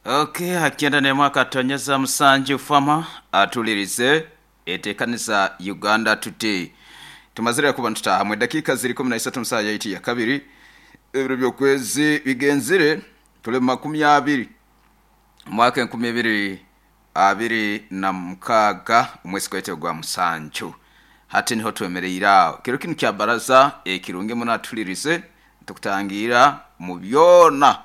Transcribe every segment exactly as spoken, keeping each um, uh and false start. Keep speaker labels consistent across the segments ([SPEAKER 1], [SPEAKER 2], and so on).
[SPEAKER 1] Okay, hakyenda n'emwaka tonyeza musanju fama atulirize etekanisa Uganda Today. Tumazire kuba ntutaha mwe dakika ziri kumi na isatu mu saaha yaitu ya kabiri, ebiro by'okwezi bigenzire tuli mu makumi abiri mwaka enkumi ibiri abiri na mukaaga, omwezi gwaitu gwa musanju. Hati niho twemereire aho kiro kinu kya baraza ekirungi muno. Atulirize tukutangira mu byona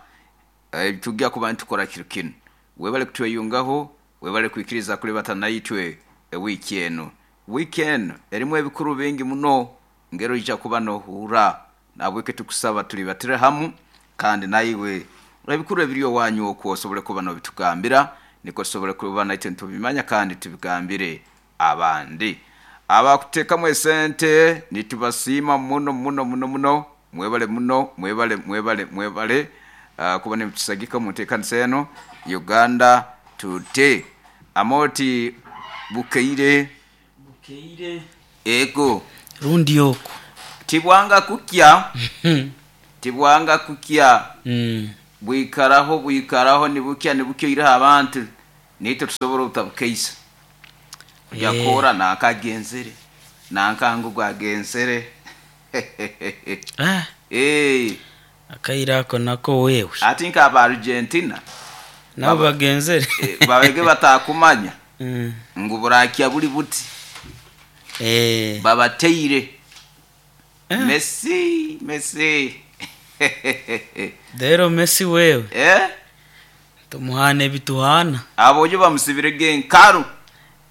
[SPEAKER 1] ebitujja kuba nitukora kiro kinu. Webale kutweyungaho, webale kwikiriza kulibata naitwe ewiiki enu. Wiiki enu erimu ebikuru bingi muno ngero ija kuba nohuura, nabweki tukusaba tulibatire hamu, kandi naiwe ebikuru ebiri owanyu okwo osobole kuba nobitugambira, nikwo tusobole kuba naitwe nitubimanya kandi tubigambire abandi. Abakuteekamu esente nitubasiima muno muno muno muno. Mwebale muno, mwebale, mwebale, mwebale uh, kuba nimutusagika mu nteekanisa eno Uganda Today. Amoti bukeire.
[SPEAKER 2] Bukeire.
[SPEAKER 1] Ego.
[SPEAKER 2] Rundi oku.
[SPEAKER 1] Tibwanga kukya, tibwanga kukya.
[SPEAKER 2] Mm.
[SPEAKER 1] Bwikaraho, bwikaraho, nibukya, nibukya ireho abantu nitwe tusobora obutabukeisa
[SPEAKER 2] Eh.
[SPEAKER 1] yakora nankagenzere nankangu gwagenzere.
[SPEAKER 2] Ah,
[SPEAKER 1] Eh,
[SPEAKER 2] akaire ako nako wewe.
[SPEAKER 1] Ati nk'aba Argentina
[SPEAKER 2] nabo bagenzere.
[SPEAKER 1] eh, babege batakumanya
[SPEAKER 2] Mm.
[SPEAKER 1] ngu burakya buli buti.
[SPEAKER 2] Eh.
[SPEAKER 1] Babateire.
[SPEAKER 2] Eh.
[SPEAKER 1] Messi, Messi.
[SPEAKER 2] Rero Messi wewe
[SPEAKER 1] Eh?
[SPEAKER 2] tumuhana ebituhana.
[SPEAKER 1] Abojo bamusibirege enkaru.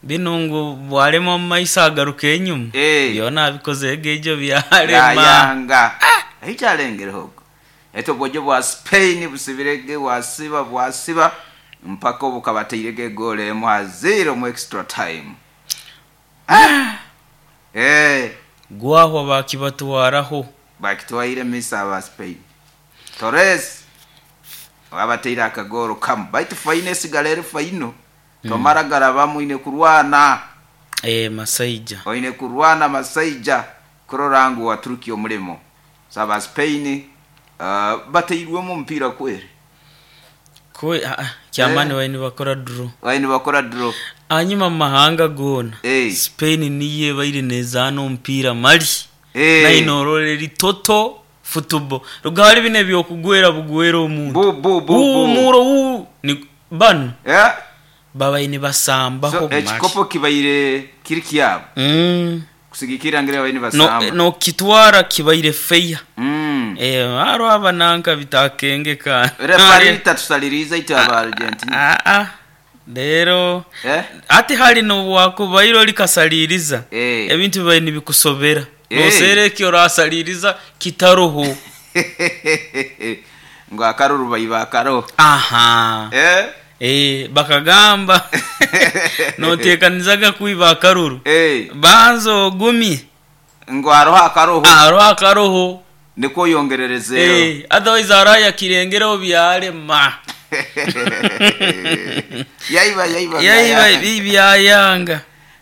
[SPEAKER 2] Bino ngu bwalema mu maiso agaruka enyuma.
[SPEAKER 1] Eh.
[SPEAKER 2] Byona abikoze ejo byalema.
[SPEAKER 1] Yayanga ekyalengereho eto bojo bwa Spain busibirege, bwasiba, bwasiba mpaka obu kabateirege egoolo emu ha zero mu extra time. Ah! Eh,
[SPEAKER 2] Gwahwa bakibatwaraho.
[SPEAKER 1] Bakitwaire misa aba Spain. Torres wabateire akagoro kamu, baitu faino esigala eri faino. Tomara garabamu, ine kurwana.
[SPEAKER 2] Eh, masaija.
[SPEAKER 1] Oine kurwana masaija kurora ngu waturuki omulimo. So aba Spain uh, bateirwemu omupiira kweri.
[SPEAKER 2] Kwe ah, ah, kyamani.
[SPEAKER 1] Eh.
[SPEAKER 2] Waini bakora draw.
[SPEAKER 1] Waini bakora draw.
[SPEAKER 2] Hanyuma mu mahanga gona,
[SPEAKER 1] Eh.
[SPEAKER 2] Spain niyo ebaire nezaana omupiira mali.
[SPEAKER 1] Eh.
[SPEAKER 2] Nayinorora eri toto football rugari bino ebyokugwera bugwera omuntu.
[SPEAKER 1] Bu bu bu bu.
[SPEAKER 2] Umuro u ni bano
[SPEAKER 1] Eh?
[SPEAKER 2] babaine basambaho
[SPEAKER 1] So
[SPEAKER 2] mali.
[SPEAKER 1] ekikopo kibaire kiri kyabo
[SPEAKER 2] mm.
[SPEAKER 1] kusigikira ngire waini
[SPEAKER 2] no,
[SPEAKER 1] basamba.
[SPEAKER 2] no kitwara kibaire feya.
[SPEAKER 1] Mm.
[SPEAKER 2] Eh, haro abananka bitakengeka.
[SPEAKER 1] Refari tatusaliriza itwe aba Argentina.
[SPEAKER 2] Ah, ah. Rero
[SPEAKER 1] Eh?
[SPEAKER 2] ati hali nobwakubaire olikasaliriza,
[SPEAKER 1] Eh.
[SPEAKER 2] ebintu bibaire nibikusobera.
[SPEAKER 1] Eh.
[SPEAKER 2] Nosera ekyo orasaliriza kitaroho.
[SPEAKER 1] Ngo akaruru baiba akaro.
[SPEAKER 2] Aha.
[SPEAKER 1] Eh?
[SPEAKER 2] Eh, bakagamba notekanizaga kwiba akaruru,
[SPEAKER 1] Eh,
[SPEAKER 2] banza ogumye.
[SPEAKER 1] Ngo aroho akaroho.
[SPEAKER 2] Aroho akaroho.
[SPEAKER 1] Niko yongererezeyo.
[SPEAKER 2] Eh, otherwise araya kirengereho byalema.
[SPEAKER 1] Yaiba, yaiba.
[SPEAKER 2] Yaiba byayanga.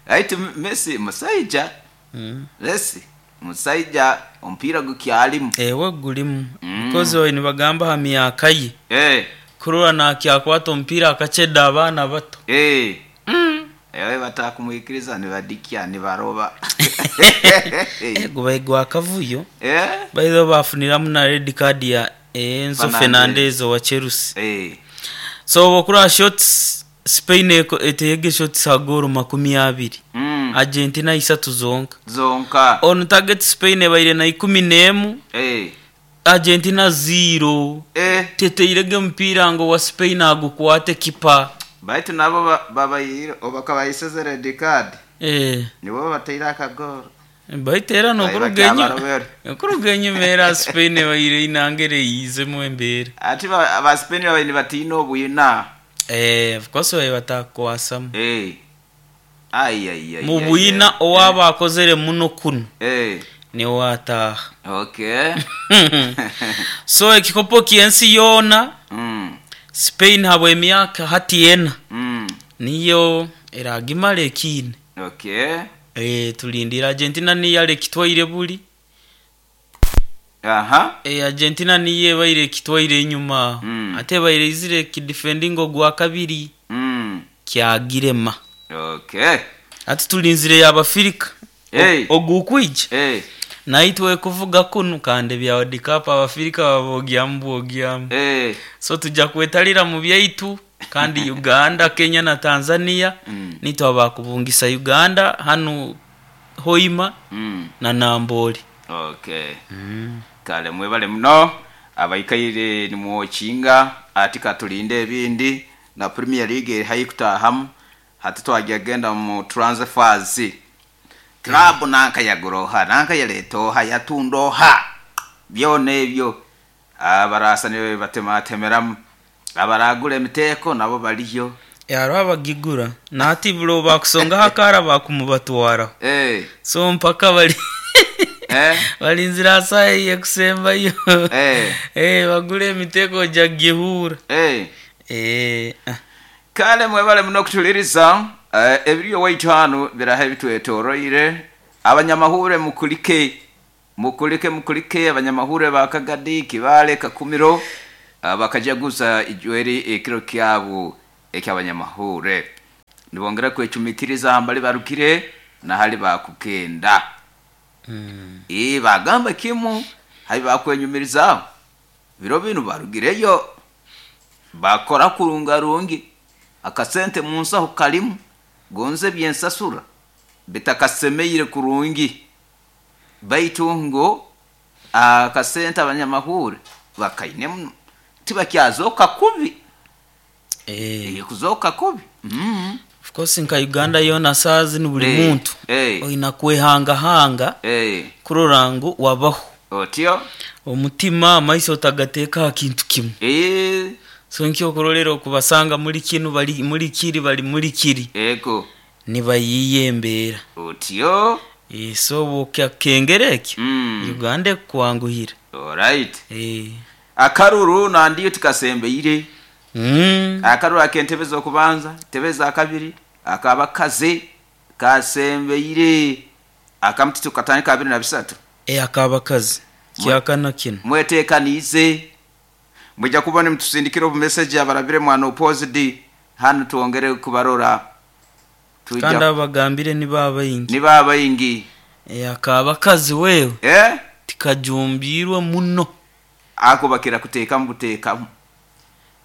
[SPEAKER 1] Aitu Messi musaija.
[SPEAKER 2] Mm.
[SPEAKER 1] Messi musaija omupiira gukyalimu.
[SPEAKER 2] Ewe gulimu.
[SPEAKER 1] Mm.
[SPEAKER 2] Because oyo nibagamba ha myaka ye,
[SPEAKER 1] Eh,
[SPEAKER 2] kurora nakyakwata omupiira akaceda abaana bato.
[SPEAKER 1] Eh. Ewe batakumwikiriza nibadikya nibaroba.
[SPEAKER 2] Eh, gubaye gwa kavuyo.
[SPEAKER 1] Eh?
[SPEAKER 2] Baitho bafuniramu na red card ya Enzo
[SPEAKER 1] Fernandez.
[SPEAKER 2] Fernandez owa Chelsea.
[SPEAKER 1] Eh.
[SPEAKER 2] So bokura shots, Spain eko- eteyege shots ha goal makumi abiri,
[SPEAKER 1] Mm.
[SPEAKER 2] Argentina isatu zonka.
[SPEAKER 1] Zonka.
[SPEAKER 2] On target Spain ebaire na ikumi n'emu,
[SPEAKER 1] Eh.
[SPEAKER 2] Argentina zero.
[SPEAKER 1] Eh.
[SPEAKER 2] Teteirege omupiira ngo wa Spain agukwate kipa.
[SPEAKER 1] Baitu nabo ba- babayire obakabayiseze red card.
[SPEAKER 2] Eh.
[SPEAKER 1] Nibo bateire akagoro.
[SPEAKER 2] Baitu era nokuruga
[SPEAKER 1] Babarobere.
[SPEAKER 2] okuruga enyuma era Spain ebaire inangere yizemu embeera.
[SPEAKER 1] Ati ba aba Spain babaire nibatiina obwina.
[SPEAKER 2] Eh, of course babe batakwasamu.
[SPEAKER 1] Eh. Ai ai ai.
[SPEAKER 2] Mu
[SPEAKER 1] ai,
[SPEAKER 2] bwina
[SPEAKER 1] ai.
[SPEAKER 2] owaba akozere muno kuno
[SPEAKER 1] Eh.
[SPEAKER 2] niwe ataaha.
[SPEAKER 1] Okay.
[SPEAKER 2] So ekikopo ky'ensi yoona,
[SPEAKER 1] Mm.
[SPEAKER 2] Spain habwa emyaka hati ena
[SPEAKER 1] Mm.
[SPEAKER 2] niyo eragimara ekiine.
[SPEAKER 1] Okay.
[SPEAKER 2] Eh, tulindira Argentina niyo yalekitwaire buli.
[SPEAKER 1] Aha.
[SPEAKER 2] E, Argentina niyo ebaire ekitwaire enyuma.
[SPEAKER 1] Mm.
[SPEAKER 2] Ate ebaire izire kidefending ogwa kabiri.
[SPEAKER 1] Mm.
[SPEAKER 2] Kyagirema.
[SPEAKER 1] Okay.
[SPEAKER 2] Ati tulinzire y'Abafirika.
[SPEAKER 1] Hey.
[SPEAKER 2] Ogukwija.
[SPEAKER 1] Hey.
[SPEAKER 2] Naitwe kuvuga kunu kandi bya World Cup Abafirika babogyamu bwogyamu.
[SPEAKER 1] Hey.
[SPEAKER 2] So tujja kwetalira mu byaitu kandi Uganda, Kenya na Tanzania.
[SPEAKER 1] Mm.
[SPEAKER 2] Nitwe abakubungisa Uganda hanu Hoima
[SPEAKER 1] Mm.
[SPEAKER 2] na Nambole.
[SPEAKER 1] Okay. Mm. Kale mwebale muno abaikaire nimwokinga ati katulinde ebindi na Premier League haikutahamu hati twagenda mu transfers club mm. nanka yaguroha nanka yaletoha yatundoha byona ebyo abarasa niwe batematemeramu abaragura emiteko nabo baliyo
[SPEAKER 2] Yaro abagigura nati bulo bakusonga hakara bakumubatwara.
[SPEAKER 1] Eh.
[SPEAKER 2] So mpaka bali
[SPEAKER 1] eh
[SPEAKER 2] balinzira asayi yekusembayo.
[SPEAKER 1] Eh.
[SPEAKER 2] Eh bagule emiteko jagihura.
[SPEAKER 1] Eh.
[SPEAKER 2] Eh.
[SPEAKER 1] Kale mwebale muno kutuliriza eh, ebiriyo waitu hano biraha ebitwetoroire abanyamahure mukulike mukulike mukulike abanyamahure ba Kagadi Kibale Kakumiro bakajaguza ijweri ekiro kyabo ekyabanyamahure nibongera kwecumitiriza hambali barukire na hali bakukenda.
[SPEAKER 2] Mm.
[SPEAKER 1] E bagamba kimu habi bakwenyumiriza biro binu barugireyo bakora kurungarungi akasente munsaho kalimu gonze byensasura bitakasemeire kurungi baitu ngo akasente abanyamahure bakaine muno tibakyazoka kubi.
[SPEAKER 2] Eh.
[SPEAKER 1] Kuzoka kubi. Mm.
[SPEAKER 2] Of course nka Uganda yona sazi ni buli
[SPEAKER 1] hey.
[SPEAKER 2] muntu
[SPEAKER 1] hey.
[SPEAKER 2] oyina kwehanga hanga
[SPEAKER 1] hey.
[SPEAKER 2] kurora ngu wabaho
[SPEAKER 1] otyo
[SPEAKER 2] omutima amaiso otagateeka kintu kimu.
[SPEAKER 1] Eh.
[SPEAKER 2] So nkyo okurolera okubasanga muri kinu bali muri kiri bali muri kiri
[SPEAKER 1] ego
[SPEAKER 2] nibayiye embeera
[SPEAKER 1] otyo.
[SPEAKER 2] E, so bukakengera ekyo
[SPEAKER 1] mm.
[SPEAKER 2] Uganda kwanguhira.
[SPEAKER 1] All right.
[SPEAKER 2] Eh.
[SPEAKER 1] Akaruru nandiyo tukasembeire.
[SPEAKER 2] Mm.
[SPEAKER 1] Akaruru akentebe zokubanza tebe za kabiri akabakaze kasembeire akamtitu katandika abiri na bisatu.
[SPEAKER 2] E akabakazi kyakana kino
[SPEAKER 1] mwetekanize mujja kubona mtusindikira obu message abarabire mwana opposite hano tuongere kubarora
[SPEAKER 2] tuja kandi abagambire ni baba ingi
[SPEAKER 1] ni baba ingi.
[SPEAKER 2] E akabakazi wewe
[SPEAKER 1] eh
[SPEAKER 2] tikajumbirwa muno
[SPEAKER 1] ako bakira kuteka muteka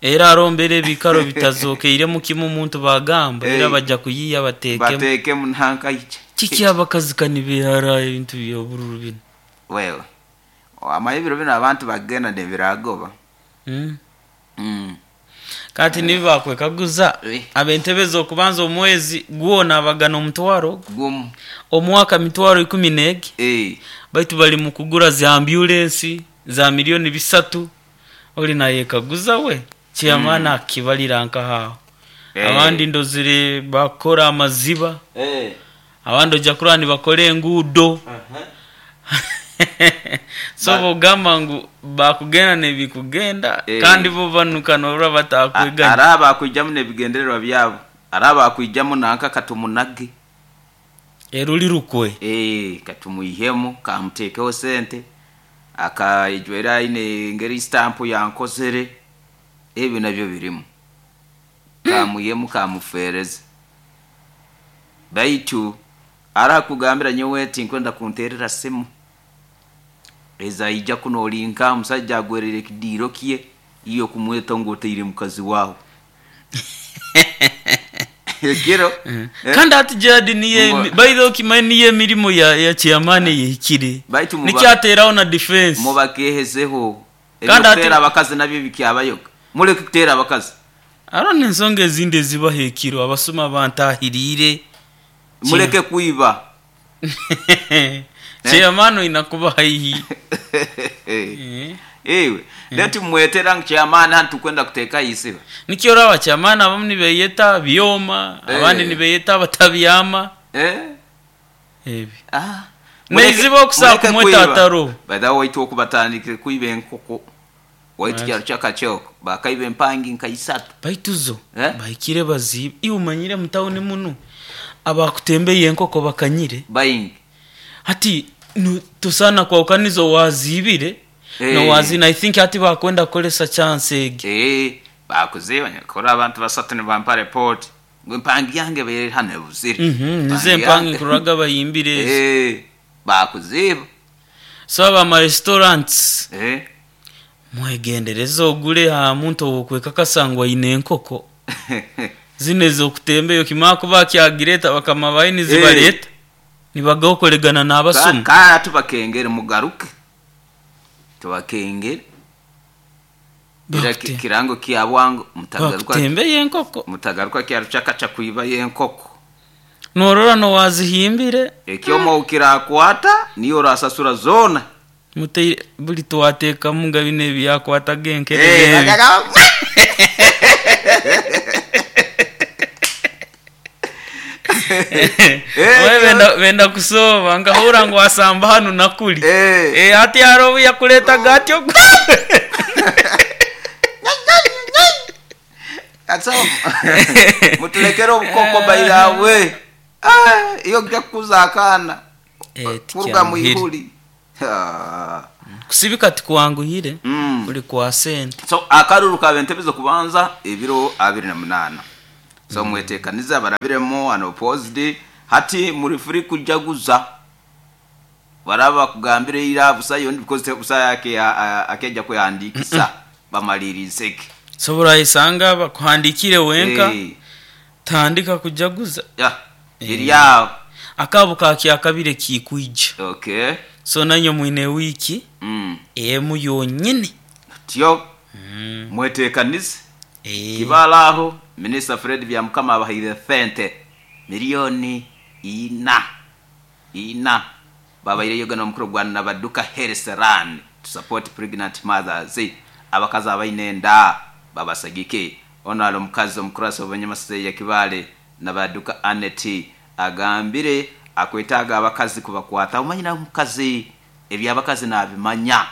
[SPEAKER 2] era arombere bikaro bitazokeire mu kimu umuntu bagamba
[SPEAKER 1] hey.
[SPEAKER 2] Era bajja kuyiya batekemu
[SPEAKER 1] batekemu ntanka iche
[SPEAKER 2] kiki abakazi kanibihara ebintu byobururu bino
[SPEAKER 1] wewe amayibiro bino abantu bagenda ne biragoba.
[SPEAKER 2] Mm.
[SPEAKER 1] Mm.
[SPEAKER 2] Kati nibi bakwekaguza
[SPEAKER 1] Eh.
[SPEAKER 2] abentebe okubanza omwezi gwona abagana omutwaro
[SPEAKER 1] gumu
[SPEAKER 2] omwaka mitwaro ikumi negi
[SPEAKER 1] eh
[SPEAKER 2] baitu bali mu kugura za ambulance za milioni bisatu oli naye kaguza we chairman mm. akibalira nkahaho.
[SPEAKER 1] Eh.
[SPEAKER 2] Abandi ndozire bakora amaziba.
[SPEAKER 1] Eh.
[SPEAKER 2] Abandi ojja kurani bakore enguudo.
[SPEAKER 1] Uh -huh.
[SPEAKER 2] So bogamba ngu bakugenda nebikugenda
[SPEAKER 1] Eh.
[SPEAKER 2] kandi bo banukana ora batakweganya
[SPEAKER 1] araba akujjamu nebigendererwa byabo araba akujjamu nanka katumunage
[SPEAKER 2] eruli rukwe
[SPEAKER 1] eh katumuyihemu kamutekeho sente akaijwera ine ngeri stamp yankozere ebyo nabyo birimu kamuyemu kamufereze baitu arakugambira nyowe tinkwenda kunterera simu eza ija kunolinka musajja agwerere kidiro kiye iyo kumweta ngoteire mukazi wawo ekiro.
[SPEAKER 2] Mm. Kandi ati jadi niye by the way kimani niye mirimo ya ya chairman yihikire nikyateraho na defense
[SPEAKER 1] mubakehezeho ebyo abakazi nabyo bikyabayoka muleke kutera abakazi
[SPEAKER 2] arone ensonga ezindi ezibahekiro abasoma bantahirire
[SPEAKER 1] muleke kuiba
[SPEAKER 2] chairman inakuba haihi.
[SPEAKER 1] Ewe leti mwetera chairman hantu kwenda kuteka isiba
[SPEAKER 2] nikyo rawa chairman abamu nibeyeta byoma abandi nibeyeta batabyama
[SPEAKER 1] eh
[SPEAKER 2] ebi
[SPEAKER 1] ah
[SPEAKER 2] neziba okusa kumweta ataro
[SPEAKER 1] by the way okubatandikire kuiba enkoko waitu kyaro kyakachoko bakaiba empangi nkaisatu
[SPEAKER 2] baituzo
[SPEAKER 1] eh?
[SPEAKER 2] Bahikire baziba iwe umanyire mutawuni muno abakutembeye enkoko bakanyire
[SPEAKER 1] bayingi
[SPEAKER 2] hati tosana kwa ukanizo wazibire
[SPEAKER 1] Eh.
[SPEAKER 2] Nowazina I think ati bakwenda kukolesa chance egi.
[SPEAKER 1] Eh, bakuziba nyakora abantu basatu nibampa report ngo empangi yange bere hano ebuzire.
[SPEAKER 2] Mhm, nize empangi nkuraga bayimbire ezo.
[SPEAKER 1] Eh, bakuziba.
[SPEAKER 2] So aba ma restaurants
[SPEAKER 1] Eh.
[SPEAKER 2] mwegendereze ogule ha muntu owokwekakasa ngu aine enkoko zino ez'okutembeyo kimara kuba kyagireta bakama bayi nizibareta nibagaokoregana n'abasumu.
[SPEAKER 1] Kara tubakengere mugaruke, tubakengere era ki-
[SPEAKER 2] Bakute-
[SPEAKER 1] kirango kya bwangu mutagaruka
[SPEAKER 2] bakutembeyo enkoko
[SPEAKER 1] mutagaruka kyaruchaka kwiba yenkoko.
[SPEAKER 2] Norora nowazihimbire.
[SPEAKER 1] Ekyomo ukirakwata niyo orasasura zona.
[SPEAKER 2] Muteire buli twateekamu nga bino ebyakwataga
[SPEAKER 1] Eh,
[SPEAKER 2] enkerere ebi.
[SPEAKER 1] Eh,
[SPEAKER 2] Oye, benda benda kusoma nkahura ngu asamba hanu nakuli.
[SPEAKER 1] Eh.
[SPEAKER 2] Eh, ati haro obu yakuletaga atyo.
[SPEAKER 1] Katso mutulekere obukoko bairawe. Ah, iyo kujya kukuza akana
[SPEAKER 2] Eh,
[SPEAKER 1] kuruga
[SPEAKER 2] tikyanguhire.
[SPEAKER 1] mwihuri. Ah.
[SPEAKER 2] Kusibika tikwanguhire.
[SPEAKER 1] Mm.
[SPEAKER 2] Kuli kwa sente.
[SPEAKER 1] So akaruru kabe entebe kubanza ebiro abiri na munana, so mwetekanize barabiremo unopposed hati muri free kujaguza baraba kugambire ira busa yondi because busa yake akeja kuyandikisa bamalirize.
[SPEAKER 2] So burayisanga bakuhandikire wenka.
[SPEAKER 1] Eh,
[SPEAKER 2] tandika kujaguza.
[SPEAKER 1] Ya iri yawo.
[SPEAKER 2] Akabo kakyakabire kikwija.
[SPEAKER 1] Okay.
[SPEAKER 2] So nanyo mwine wiki
[SPEAKER 1] mm.
[SPEAKER 2] emu yonyine.
[SPEAKER 1] Tyo mwetekanize.
[SPEAKER 2] Eh,
[SPEAKER 1] kibala aho Minister Fred Byamukama abahaire sente miliyoni ina ina babaire yoga omukuru gwa Nabaduka Health Run to support pregnant mothers, abakazi abaine enda babasagike. Ono ali omukazi omukurasi obunyamasase ya Kibale Nabaduka Anet agambire akwetaaga abakazi kubakwata omanyira omukazi ebyabakazi nabimanya.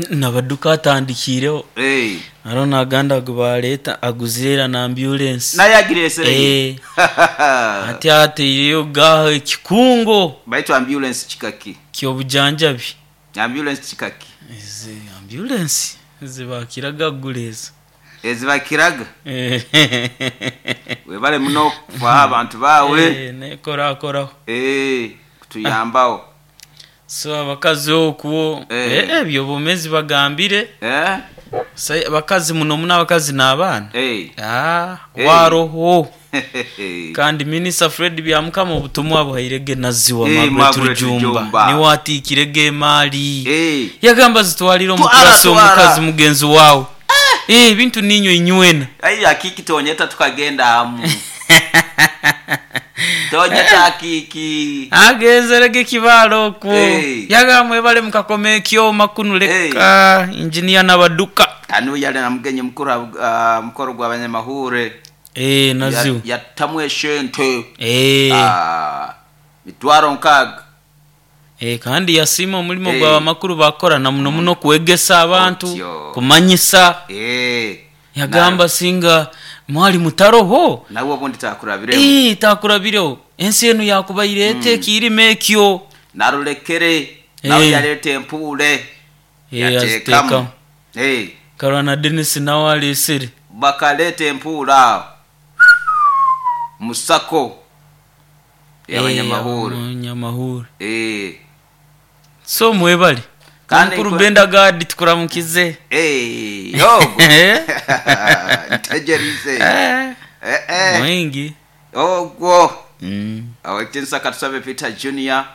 [SPEAKER 2] Nabaduka atandikireho.
[SPEAKER 1] Hey.
[SPEAKER 2] Aro naganda gubaleta aguzira na ambulance.
[SPEAKER 1] Naye agiresere.
[SPEAKER 2] Eh. Ati ateireyo gaho ekikungo
[SPEAKER 1] baitu ambulance kikaki?
[SPEAKER 2] Kyobujanjabi.
[SPEAKER 1] Ambulance kikaki?
[SPEAKER 2] Ezi ambulance zibakiraga guleza.
[SPEAKER 1] Ezibakiraga webale muno kufaho abantu bawe.
[SPEAKER 2] Eh, nekorakoraho.
[SPEAKER 1] Eh, kutuyambaho.
[SPEAKER 2] So abakazi okwo
[SPEAKER 1] Eh.
[SPEAKER 2] eh, ebyo bomezi bagambire.
[SPEAKER 1] Eh?
[SPEAKER 2] Sai- abakazi muno muno abakazi n'abaana.
[SPEAKER 1] Eh.
[SPEAKER 2] Ah,
[SPEAKER 1] Eh.
[SPEAKER 2] waroho kandi Minisita Fred Byamukama obutumwa buhairege naziwa.
[SPEAKER 1] Eh,
[SPEAKER 2] Margaret
[SPEAKER 1] Margaret
[SPEAKER 2] Rujumba
[SPEAKER 1] Rujumba.
[SPEAKER 2] niwe atiikirege emaali.
[SPEAKER 1] Eh.
[SPEAKER 2] Yagamba zitwalire
[SPEAKER 1] Twara,
[SPEAKER 2] omukurasi
[SPEAKER 1] twara.
[SPEAKER 2] omukazi mugenzi wawe. Eh, ebintu ninyo inywena.
[SPEAKER 1] Ai akiki tonyeta tukagenda amu tonyeta akiki.
[SPEAKER 2] Agenzerege kibaalo okwo.
[SPEAKER 1] Eh.
[SPEAKER 2] Yagamba mwebale mukakoma ekyoma kunu leka injiniya Nabaduka.
[SPEAKER 1] Kanu yali na mugenyi mukuru ah, mukoro gw'abanyamahure.
[SPEAKER 2] Eh, naziwa.
[SPEAKER 1] Yattamu eshente.
[SPEAKER 2] Eh.
[SPEAKER 1] Ah, mitwaro nkaaga.
[SPEAKER 2] Eh, kandi yasiima omulimo
[SPEAKER 1] Eh.
[SPEAKER 2] gw'abamakuru bakora na muno muno kwegesa abantu.
[SPEAKER 1] Otyo.
[SPEAKER 2] Kumanyisa.
[SPEAKER 1] Eh.
[SPEAKER 2] Yagamba singa mwali mutaroho
[SPEAKER 1] nawe obundi takurabiremu.
[SPEAKER 2] Eh, takurabireho ensi enu yakubaire ete ekirima ekyo.
[SPEAKER 1] Narulekere nawe
[SPEAKER 2] Eh.
[SPEAKER 1] yaleeta empuule.
[SPEAKER 2] Eh,
[SPEAKER 1] yateekamu.
[SPEAKER 2] aziteekamu.
[SPEAKER 1] Eh,
[SPEAKER 2] Karwana Denis nawe alesere.
[SPEAKER 1] Bakaleeta empuule awo musako y'abanyamahuru.
[SPEAKER 2] Abanyamahuri.
[SPEAKER 1] Eh.
[SPEAKER 2] So mwebale.
[SPEAKER 1] Kandi
[SPEAKER 2] mukuru
[SPEAKER 1] kwe-
[SPEAKER 2] Benda Gadi tukuramukize.
[SPEAKER 1] Eh, yogo
[SPEAKER 2] Eh.
[SPEAKER 1] ntegerize.
[SPEAKER 2] Eh,
[SPEAKER 1] Eh, eh.
[SPEAKER 2] mwingi.
[SPEAKER 1] Ogwo
[SPEAKER 2] Mm.
[SPEAKER 1] awetinsa katusabe Peter Junior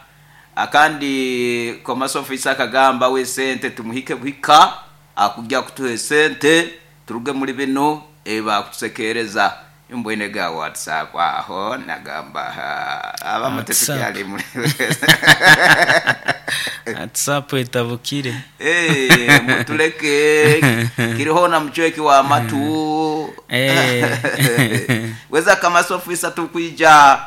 [SPEAKER 1] akandi commerce officer akagamba we sente tumuhike buhika akujja kutuha esente turuge muri bino eba kutusekereza imbwene ga WhatsApp aho nagamba ha, abamutetukyali
[SPEAKER 2] WhatsApp.
[SPEAKER 1] muri
[SPEAKER 2] WhatsApp etabukire.
[SPEAKER 1] Eh, mutuleke kiriho na mchweki wa matu.
[SPEAKER 2] Eh.
[SPEAKER 1] Weza kamasa ofisa tukwija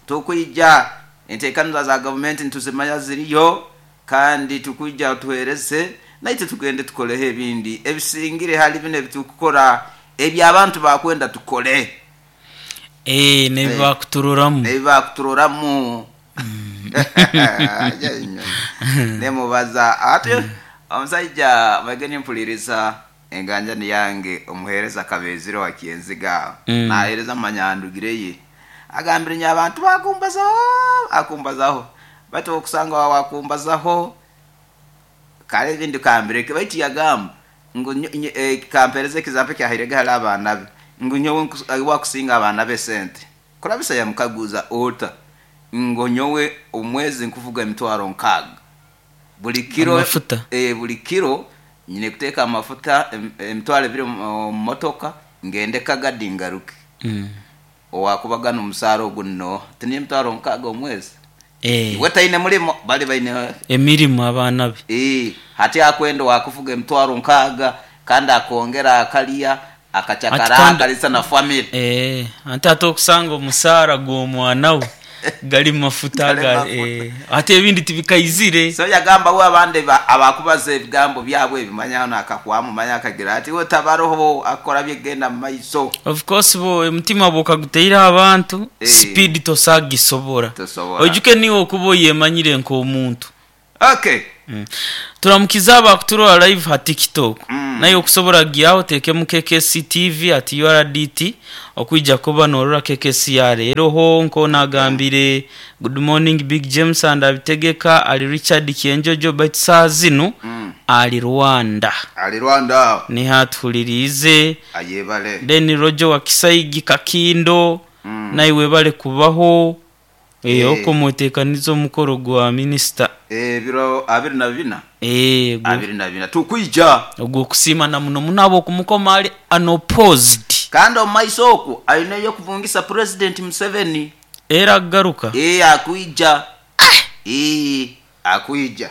[SPEAKER 1] tukwija enteekaniza za gavumenti ntuzimanya ziriyo kandi tukwija tuhereze naite tugende tukoleho ebindi ebisingire hali bino ebitukukora ebyabantu bakwenda tukole.
[SPEAKER 2] Eh, nebibakuturoramu.
[SPEAKER 1] Nebibakuturoramu nemubaza ati Omusajja bageni mpuliriza enganjani yange omuheereza Kabezire wa Kyenziga
[SPEAKER 2] Mm.
[SPEAKER 1] naheereza mumanyandugire ye agambire nyo abantu bakumbazaho akumbazaho baitu okusanga wakumbazaho kale ebindi kambireke baitu yagamba ngu nyo- nyo- eh, kampereza ekizampo kyahirege hali abaana be ngu nyowe nkus- eh, wakusinga abaana be sente kurabisa yamukaguza ota ngo nyowe omwezi nkuvuga emitwaro nkaaga buli kiro
[SPEAKER 2] Amafuta.
[SPEAKER 1] eh, buli kiro nyine kuteeka amafuta em- emitwaro ebiri omu omu motoka ngende Kagadi ngaruke
[SPEAKER 2] Mm.
[SPEAKER 1] owakubagana omusaara ogu nno tini emitwaro nkaaga omwezi
[SPEAKER 2] Eh,
[SPEAKER 1] iwe taine mulimo bali baine
[SPEAKER 2] emirimu abaana be
[SPEAKER 1] Eh, hati akwenda wakuvuga emitwaro nkaaga kandi akongera akalya akachakara
[SPEAKER 2] Ati kandi-
[SPEAKER 1] akalisa na family
[SPEAKER 2] Eh, ante ate okusanga omusaara gw'omwana we gali mafuta
[SPEAKER 1] Gali
[SPEAKER 2] ga
[SPEAKER 1] mafuta.
[SPEAKER 2] eh, ate ebindi tibikaizire
[SPEAKER 1] so yagamba we abandi ba- abakubaza ebigambo byabwe ebimanya nakakwamu manya akagira ati we tabaroho akora byegenda mu maiso
[SPEAKER 2] of course bo omutima bwokaguteire abantu
[SPEAKER 1] Eh.
[SPEAKER 2] speed tosagisobora
[SPEAKER 1] Tosobora.
[SPEAKER 2] ojuke niwe okuba oyemanyire nk'omuntu
[SPEAKER 1] okay
[SPEAKER 2] Mm. Turamukiza abakuturora live ha TikTok
[SPEAKER 1] Mm.
[SPEAKER 2] naye okusobora gyaho tekemu K K C T V at U R D T okuija kuba norora K K C ya leero ho nko nagambire good morning Big James and abitegeka ali Richard Kienjojo but saa zino
[SPEAKER 1] Mm.
[SPEAKER 2] ali Rwanda
[SPEAKER 1] ali Rwanda
[SPEAKER 2] nihatulirize
[SPEAKER 1] ayebale
[SPEAKER 2] then Roger wa Kisaigi Kakindo
[SPEAKER 1] Mm.
[SPEAKER 2] naye webale kubaho
[SPEAKER 1] Eh.
[SPEAKER 2] eh okumwetekaniza omukoro gwa minister
[SPEAKER 1] ebiro abiri na bina
[SPEAKER 2] eh gwo-
[SPEAKER 1] abiri na bina tukwija
[SPEAKER 2] ogwokusiima na muno muno abo okumukoma ali unopposed
[SPEAKER 1] kandi omu maiso okwo alinayo okuvungisa President Museveni
[SPEAKER 2] era agaruka
[SPEAKER 1] eh akwija eh akwija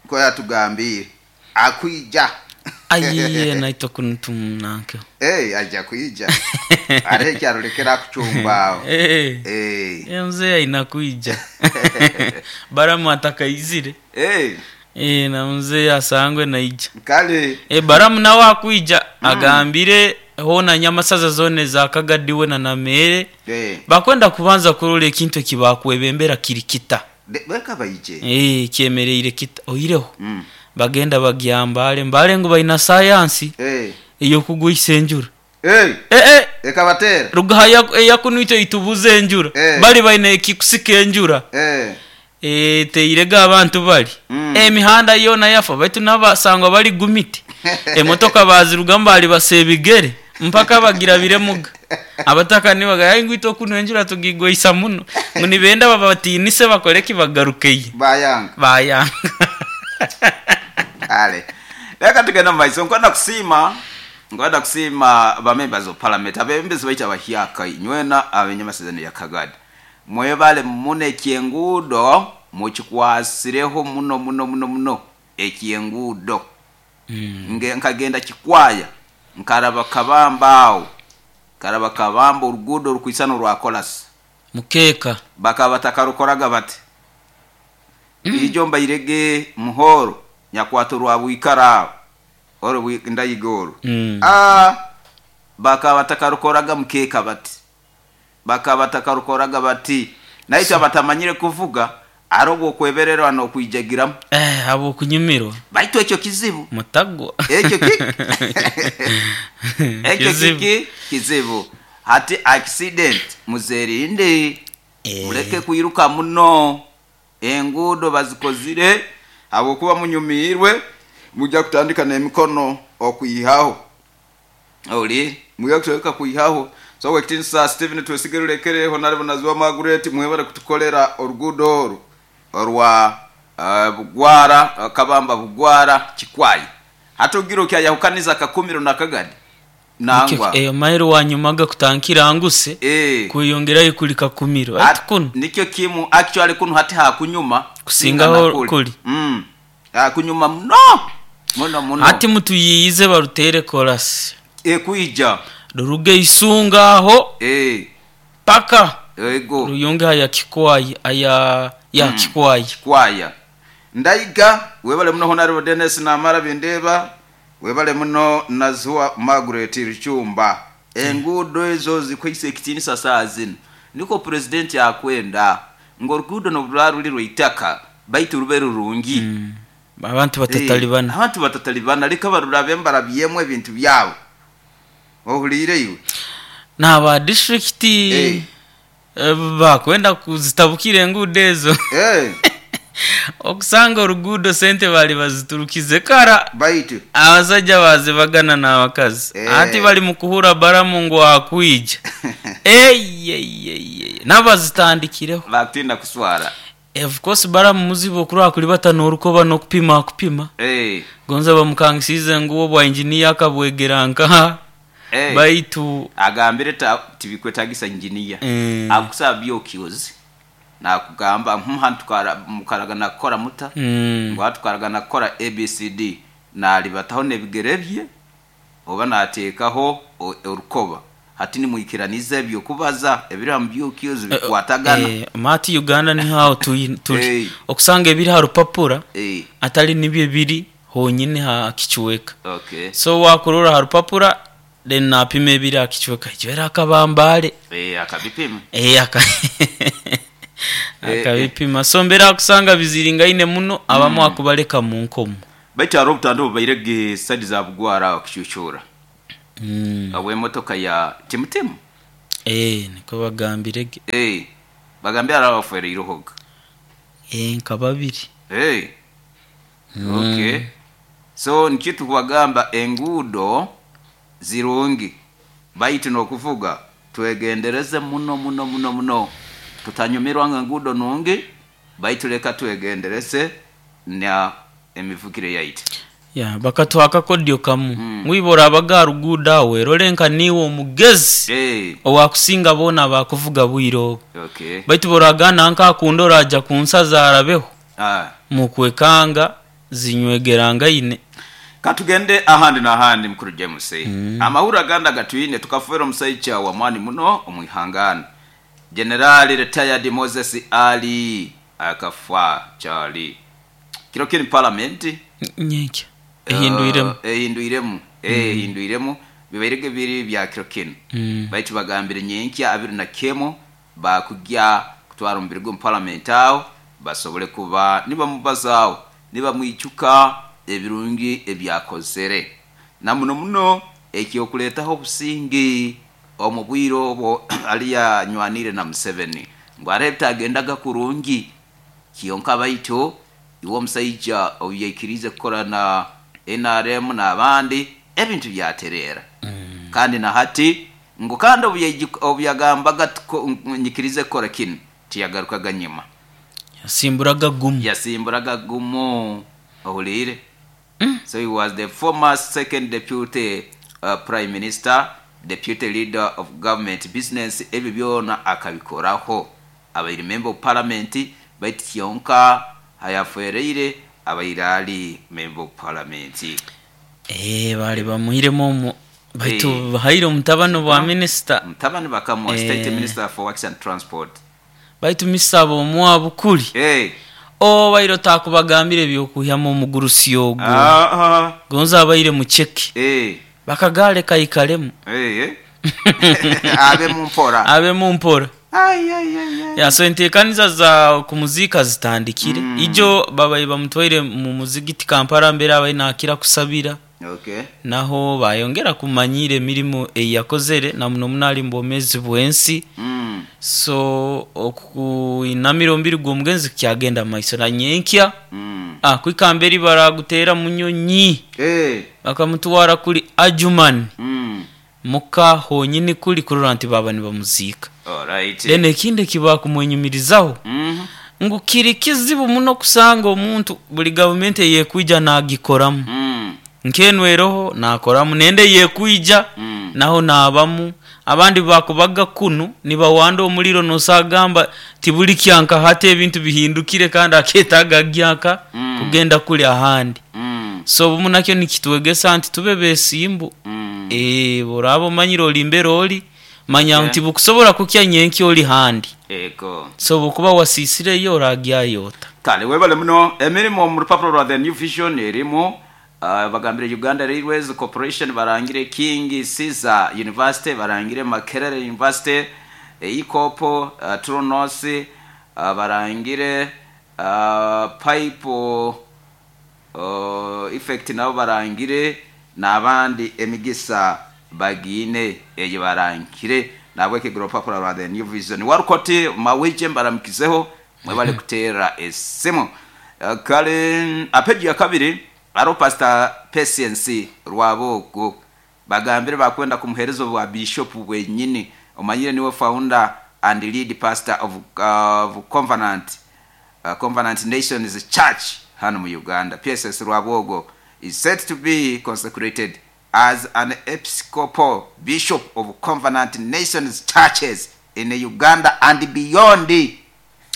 [SPEAKER 1] ko yatugambire akwija
[SPEAKER 2] ayiye naitwa kunutumunanke
[SPEAKER 1] eh ajja kwija are kyarulekera kuchumba
[SPEAKER 2] eh
[SPEAKER 1] eh
[SPEAKER 2] eh, mzee aina kuija baramu atakaizire
[SPEAKER 1] eh
[SPEAKER 2] eh na mzee asangwe naija
[SPEAKER 1] kale
[SPEAKER 2] eh baramu nawe akwija agambire hona nyamasaza zone za Kagadiwe na Namere
[SPEAKER 1] eh
[SPEAKER 2] bakwenda kubanza kurola ekintu ekibakwebembera kirikita
[SPEAKER 1] De- beka bayije
[SPEAKER 2] eh kyemereire kita oireho
[SPEAKER 1] mm
[SPEAKER 2] bagenda bagyambale mbale ngu baina sayansi
[SPEAKER 1] eh
[SPEAKER 2] eyokugwisa enjura
[SPEAKER 1] eh
[SPEAKER 2] eh eh
[SPEAKER 1] ekabatera
[SPEAKER 2] rugaha eyakunuito itubuza enjura
[SPEAKER 1] Eh.
[SPEAKER 2] bali baina ekikusika enjura
[SPEAKER 1] eh
[SPEAKER 2] eh teirega abantu bali
[SPEAKER 1] Mm.
[SPEAKER 2] emihanda yona yafa baitu nabasangwa bali gumiti emotoka bazirugamu bali basebigere mpaka bagira biremuga abataka nibaga ngwito kuno enjura tugigwisa muno ngu nibenda babatinise bakoreki bagarukeye
[SPEAKER 1] bayanga
[SPEAKER 2] bayanga
[SPEAKER 1] kale reka tugenda mu maiso nkwenda kusiima nkwenda kusiima ba members of parliament abebembezi baitu abahyaka inywena abenyamasezerano ya Kagadi mwebale muno ekyenguudo mukikwasireho muno muno muno muno ekyenguudo
[SPEAKER 2] Mm.
[SPEAKER 1] Nge- nkagenda Kikwaya nkaraba Kabamba awo nkaraba Kabamba oruguudo rukwisana orwa kolasi
[SPEAKER 2] mukeka
[SPEAKER 1] bakaba batakarukoraga bati ijo mbairege muhoro nyakwato rwa bwikara aho oro bwi- ndayiga oro
[SPEAKER 2] Mm.
[SPEAKER 1] ah bakaba batakarukoraga mukeka bati bakaba batakarukoraga bati naitwe abatamanyire kuvuga ari okwebererwa nokwijagiramu
[SPEAKER 2] eh abo kunyumirwa
[SPEAKER 1] baitu ekyo kizibu
[SPEAKER 2] mutagwa
[SPEAKER 1] ekyo kiki ekyo
[SPEAKER 2] Kizibu.
[SPEAKER 1] kiki kizibu hati accident muzerinde
[SPEAKER 2] Eh.
[SPEAKER 1] muleke kwiruka muno enguudo bazikozire habwokuba munyumiirwe mujja kutandika n'emikono okwihaho oli mujja kutandika kwihaho so wekitinisa Stephen Twesige Rurekere Honorable Naziwa Margaret mwebale kutukolera oruguudo oru orwa uh, Bugwara uh, Kabamba Bugwara Kikwaya hatugira okyayahukaniza Kakumiro na Kagadi nangwa
[SPEAKER 2] eh mairo wanyumaga kutankira nguse
[SPEAKER 1] eh
[SPEAKER 2] kweyongerayo kuli Kakumiro
[SPEAKER 1] At-
[SPEAKER 2] ati kuno
[SPEAKER 1] nikyo kimu actually kuno hati hakunyuma
[SPEAKER 2] Kusingaho
[SPEAKER 1] kusinga na
[SPEAKER 2] kuli.
[SPEAKER 1] mm hakunyuma muno muno muno
[SPEAKER 2] ati mutuyiyize barutere korasi
[SPEAKER 1] e kuija
[SPEAKER 2] ruruge isunga aho
[SPEAKER 1] eh
[SPEAKER 2] paka
[SPEAKER 1] ego
[SPEAKER 2] ruyonge aya Kikwaya aya ya mm. Kikwaya
[SPEAKER 1] Kikwaya ndayiga webale muno Honorable Dennis Namara Bindeba webale muno Nazuwa Margaret Ruchumba enguudo ezo zikwaise ekitinisa saa zino niko president akwenda ng'oruguudo nobulwa ruli rwaitaka baitu rube rurungi mm.
[SPEAKER 2] Abantu batatalibana.
[SPEAKER 1] Eh, abantu batatalibana, leka barurabe mbarabyemu ebintu byabo. Ohuliire iwe?
[SPEAKER 2] N'aba district
[SPEAKER 1] Eh.
[SPEAKER 2] eh, bakwenda kuzitabukira enguudo ezo.
[SPEAKER 1] Eh,
[SPEAKER 2] Okusanga oruguudo sente bali baziturukize kara,
[SPEAKER 1] baitu
[SPEAKER 2] abasajja bazibagana n'abakazi.
[SPEAKER 1] Eh.
[SPEAKER 2] Ati bali mu kuhura baramu ngu akwija. Eyeyeye, nabazitandikireho.
[SPEAKER 1] Bakutinda kuswara.
[SPEAKER 2] Of course baramu muzibu okurwa kulibata n'orukoba n'okupima akupima.
[SPEAKER 1] Eh,
[SPEAKER 2] Gonza bamukangisize ngu obwa engineer akabwegera nkaha.
[SPEAKER 1] eh.
[SPEAKER 2] Baitu
[SPEAKER 1] agambire ta tibikwetagisa engineer.
[SPEAKER 2] Mm.
[SPEAKER 1] Akusaba byokyozi nakugamba nkuhantu mukaragana kukora muta,
[SPEAKER 2] Mm.
[SPEAKER 1] ngo tukaragana kukora A B C D, nalibataho nebigere bye oba nateekaho o- orukoba, hati nimwikiraniza ebyo kubaza ebiri mu byokyozi bikwatagana.
[SPEAKER 2] Eh, mati Uganda ni hawo tui- tuli
[SPEAKER 1] Eh.
[SPEAKER 2] okusanga ebiri ha rupapura
[SPEAKER 1] Eh,
[SPEAKER 2] atali nibyo biri honyine ha kichweka.
[SPEAKER 1] Okay
[SPEAKER 2] so wakurora ha rupapura, then napima ebiri ha kichweka ekyo akabambale.
[SPEAKER 1] Eh, akabipima.
[SPEAKER 2] Eh, aka
[SPEAKER 1] Eh,
[SPEAKER 2] akabipima. So mbere akusanga biziringaine muno, abamu akubaleka mu nkomo.
[SPEAKER 1] Baitu hariho obutando bubairege sadi za bugwara okucucura
[SPEAKER 2] Mm.
[SPEAKER 1] obw'emotoka ya timutimu.
[SPEAKER 2] Eh, niko bagambirege.
[SPEAKER 1] Eh, bagambye hariho abafereirehoga.
[SPEAKER 2] Eh, nka babiri.
[SPEAKER 1] Hey. Okay. So nikyo tukubagamba, enguudo zirungi, baitu n'okuvuga twegendereze muno muno muno muno. Tutanyumirwa nga enguudo nungi, baitu leka twegendereze na emivugire yaitu.
[SPEAKER 2] Ya bakatwaka kodyo kamu mm. Mwibora abaga rugudo awo erole nka niwe omugezi
[SPEAKER 1] Hey.
[SPEAKER 2] owakusinga boona bakuvuga bwire obwo.
[SPEAKER 1] Okay.
[SPEAKER 2] Baitu boragana nka akunda oraja ku nsaza arabeho
[SPEAKER 1] Ah.
[SPEAKER 2] mukwekanga zinywegerangaine.
[SPEAKER 1] Katugende ahandi n'ahandi, mukuru James. mm. Amahuru agandi gatwine, tukafuera omusaija wa mwani muno omwihangana, General retired Moses Ali akafa chali kiro kiri parliament.
[SPEAKER 2] Nyenkya ehindwiremu.
[SPEAKER 1] Uh, ehindwiremu, ehindwiremu, bibairege biri bya kiro kino.
[SPEAKER 2] Mm.
[SPEAKER 1] Baitu bagambire nyenkya abiri na kemo bakujya kutwara omubiri gw'omu parliament aho basobole kuba nibamubazaaho, nibamwijuka ebirungi ebyakozere, na muno muno ekyokuleetaho obusingi omu bwire obwo ali yanywanire na Museveni, ngu hariho ebitagendaga kurungi kyonka, baitu iwe omusaija obu yaikiriize kukora na N R M n'abandi, ebintu byatereera. Kandi na hati ngu kandi obu yaiji- obu yagambaga tuko- nyikirize kukora kinu, tiyagarukaga nyuma.
[SPEAKER 2] Yasimburaga gumu.
[SPEAKER 1] Yasimburaga gumu, ohuliire? So he was the former second deputy uh, prime minister, deputy leader of government business, ebyo byona akabikoraho, abaire member of parliament, baitu kyonka hayafereire abaire ali member of parliament.
[SPEAKER 2] Eh, bali bamuhiremu omu baitu
[SPEAKER 1] Eh.
[SPEAKER 2] bahaire omutabani bwa minisita.
[SPEAKER 1] Mutabani bakamuwa
[SPEAKER 2] Eh.
[SPEAKER 1] state minister for works and transport.
[SPEAKER 2] Baitu misaba omuwa bukuli
[SPEAKER 1] Hey.
[SPEAKER 2] o baire otakubagambire ebyokuhyamu omugurusi ogwo.
[SPEAKER 1] Ah, ah.
[SPEAKER 2] Gonza abaire mucheke.
[SPEAKER 1] Eh.
[SPEAKER 2] Bakagale kaikalemu.
[SPEAKER 1] Eh, eh. Abe mumpora.
[SPEAKER 2] Abe mumpora.
[SPEAKER 1] Ai, ai, ai, ai.
[SPEAKER 2] Ya, so enteekaniza za kumuzika zitandikire.
[SPEAKER 1] Mm.
[SPEAKER 2] Ijo babaye bamutwaire mu muzigiti Kampala mbere abaye nakira kusabira.
[SPEAKER 1] Okay.
[SPEAKER 2] Naho bayongera kumanyira emirimu eyakozere, na muno muno ali mbomezi bwensi.
[SPEAKER 1] Mm.
[SPEAKER 2] So okuinamira omubiri gw'omugenzi kyagenda maiso na nyenkya.
[SPEAKER 1] Mm.
[SPEAKER 2] Ah, kwikamberi baragutera munyonyi.
[SPEAKER 1] Eh.
[SPEAKER 2] Bakamutwara kuli Ajuman
[SPEAKER 1] Mm.
[SPEAKER 2] muka honyini kuli kurora nti baba nibamuziika.
[SPEAKER 1] Alright.
[SPEAKER 2] Then ekindi ekibakumwenyumirizaho
[SPEAKER 1] Mm.
[SPEAKER 2] ngu kiri kizibu muno kusanga omuntu buli gavumenti eyekwija nagikoramu.
[SPEAKER 1] Mm.
[SPEAKER 2] Nkenweroho nakoramu, nende yekwija
[SPEAKER 1] Mm.
[SPEAKER 2] naho nabamu, abandi bakubaga kunu nibawanda omuliro, nosagamba tibuli kyanka hati ebintu bihindukire kandi aketaaga gyanka
[SPEAKER 1] Mm.
[SPEAKER 2] kugenda kuli ahandi.
[SPEAKER 1] Mm.
[SPEAKER 2] So obumu nakyo nikitwegesa nti tube besimbu.
[SPEAKER 1] Mm.
[SPEAKER 2] Eh, boraba omanyire oli mbere oli manya
[SPEAKER 1] Okay.
[SPEAKER 2] nti bukusobora kukya nyenki oli handi.
[SPEAKER 1] Ego.
[SPEAKER 2] So bukuba wasisireyo oragyayota.
[SPEAKER 1] Kale webale muno. Emirimu mu rupapuro rwa The New Vision erimu, uh, bagambire Uganda Railways Corporation barangire, King Caesar University barangire, Makerere University, Ikopo, uh, Tronos, uh, barangire, uh, pipe uh, effect nabo barangire n'abandi emigisa bagiine eyo barangire nabwo ekigiro papula rwa the new vision warukoti mawije mbaramukizeho mwebale kuteera esimu. Uh, kale apeji ya kabiri aro pastor Patience Rwabogo bagambire bakwenda kumuhereza bwa bishop bwenyini omanyire niwe founder and lead pastor of, uh, of Covenant uh, Covenant Nations Church hano mu Uganda. P S S Rwabogo is said to be consecrated as an episcopal bishop of Covenant Nations churches in Uganda and beyond. Eh,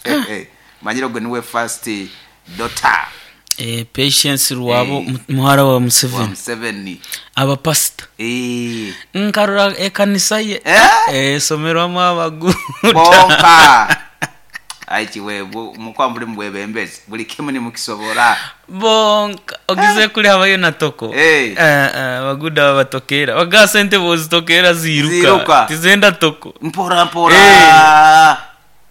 [SPEAKER 1] eh, manyire gwe niwe first daughter.
[SPEAKER 2] Eh, Patience Rwabo
[SPEAKER 1] Eh.
[SPEAKER 2] muhara wa
[SPEAKER 1] Wa
[SPEAKER 2] Museveni.
[SPEAKER 1] Museveni.
[SPEAKER 2] Aba pastor.
[SPEAKER 1] Eh.
[SPEAKER 2] Nkarora ekanisa ye.
[SPEAKER 1] Eh?
[SPEAKER 2] Eh, somerwamu abaguda.
[SPEAKER 1] Bonka. Aichi we mukwa muri mbwebembezi buli kimu ni mukisobora.
[SPEAKER 2] Bonka ogize kuli habayo na toko.
[SPEAKER 1] Eh.
[SPEAKER 2] Eh, eh, abaguda babatokera. Baga sente bozitokera ziruka.
[SPEAKER 1] Ziruka.
[SPEAKER 2] Tizenda toko.
[SPEAKER 1] Mpora mpora.
[SPEAKER 2] Eh.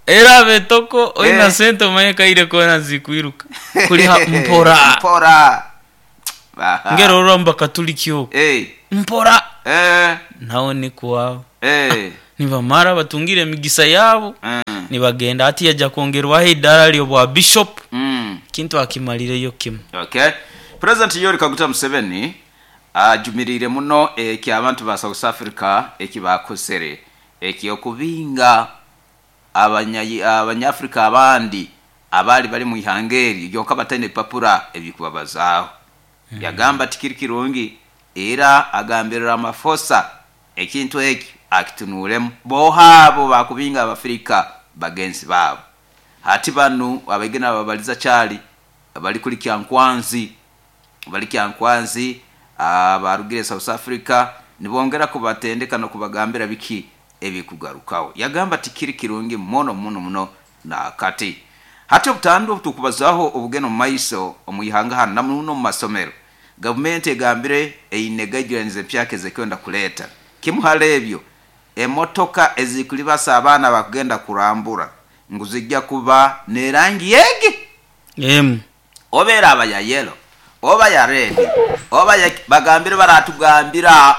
[SPEAKER 2] Era betoko oina
[SPEAKER 1] Eh.
[SPEAKER 2] sente omanye kaire kona zikwiruka. Kuli ha mpora.
[SPEAKER 1] Mpora. Baha.
[SPEAKER 2] Ngero orwamba katulikyo.
[SPEAKER 1] Eh.
[SPEAKER 2] Mpora.
[SPEAKER 1] Eh.
[SPEAKER 2] Nawo ni kuwao.
[SPEAKER 1] Eh.
[SPEAKER 2] Nibamara batungire emigisa yabo.
[SPEAKER 1] Mm.
[SPEAKER 2] Nibagenda ati yaja kongerwaho idara lyo bwa bishop.
[SPEAKER 1] Mm.
[SPEAKER 2] Kintu akimalireyo kimu.
[SPEAKER 1] Okay. President Yoweri Kaguta Museveni ajumirire muno eki abantu ba South Africa eki bakozere eki okubinga abanya abanyafrika abandi abali bali mu ihangeri yonka batene papura ebikubabazaaho. Mm. Yagamba tikiri kirungi era agambirira amafosa ekintu eki akitunulemu bohabo bakubinga abafrika bagenzi babo. Hati banu abegena babaliza chali bali kuli Kyankwanzi bali Kyankwanzi abarugire South Africa nibongera kubatendeka no kubagambira biki ebikugarukaho. Yagamba tikiri kirungi muno muno muno na kati hati obutandu tukubazaho obugeno maiso omuyihanga hano namuno mu masomero. Government egambire eine guidelines empyake zekwenda kuleta kimuhale ebyo emotoka ezikulibasa abaana bakugenda kurambura nguzijja kuba nerangi yegi
[SPEAKER 2] em
[SPEAKER 1] obeera aba ya yellow oba ya red oba ya bagambire baratugambira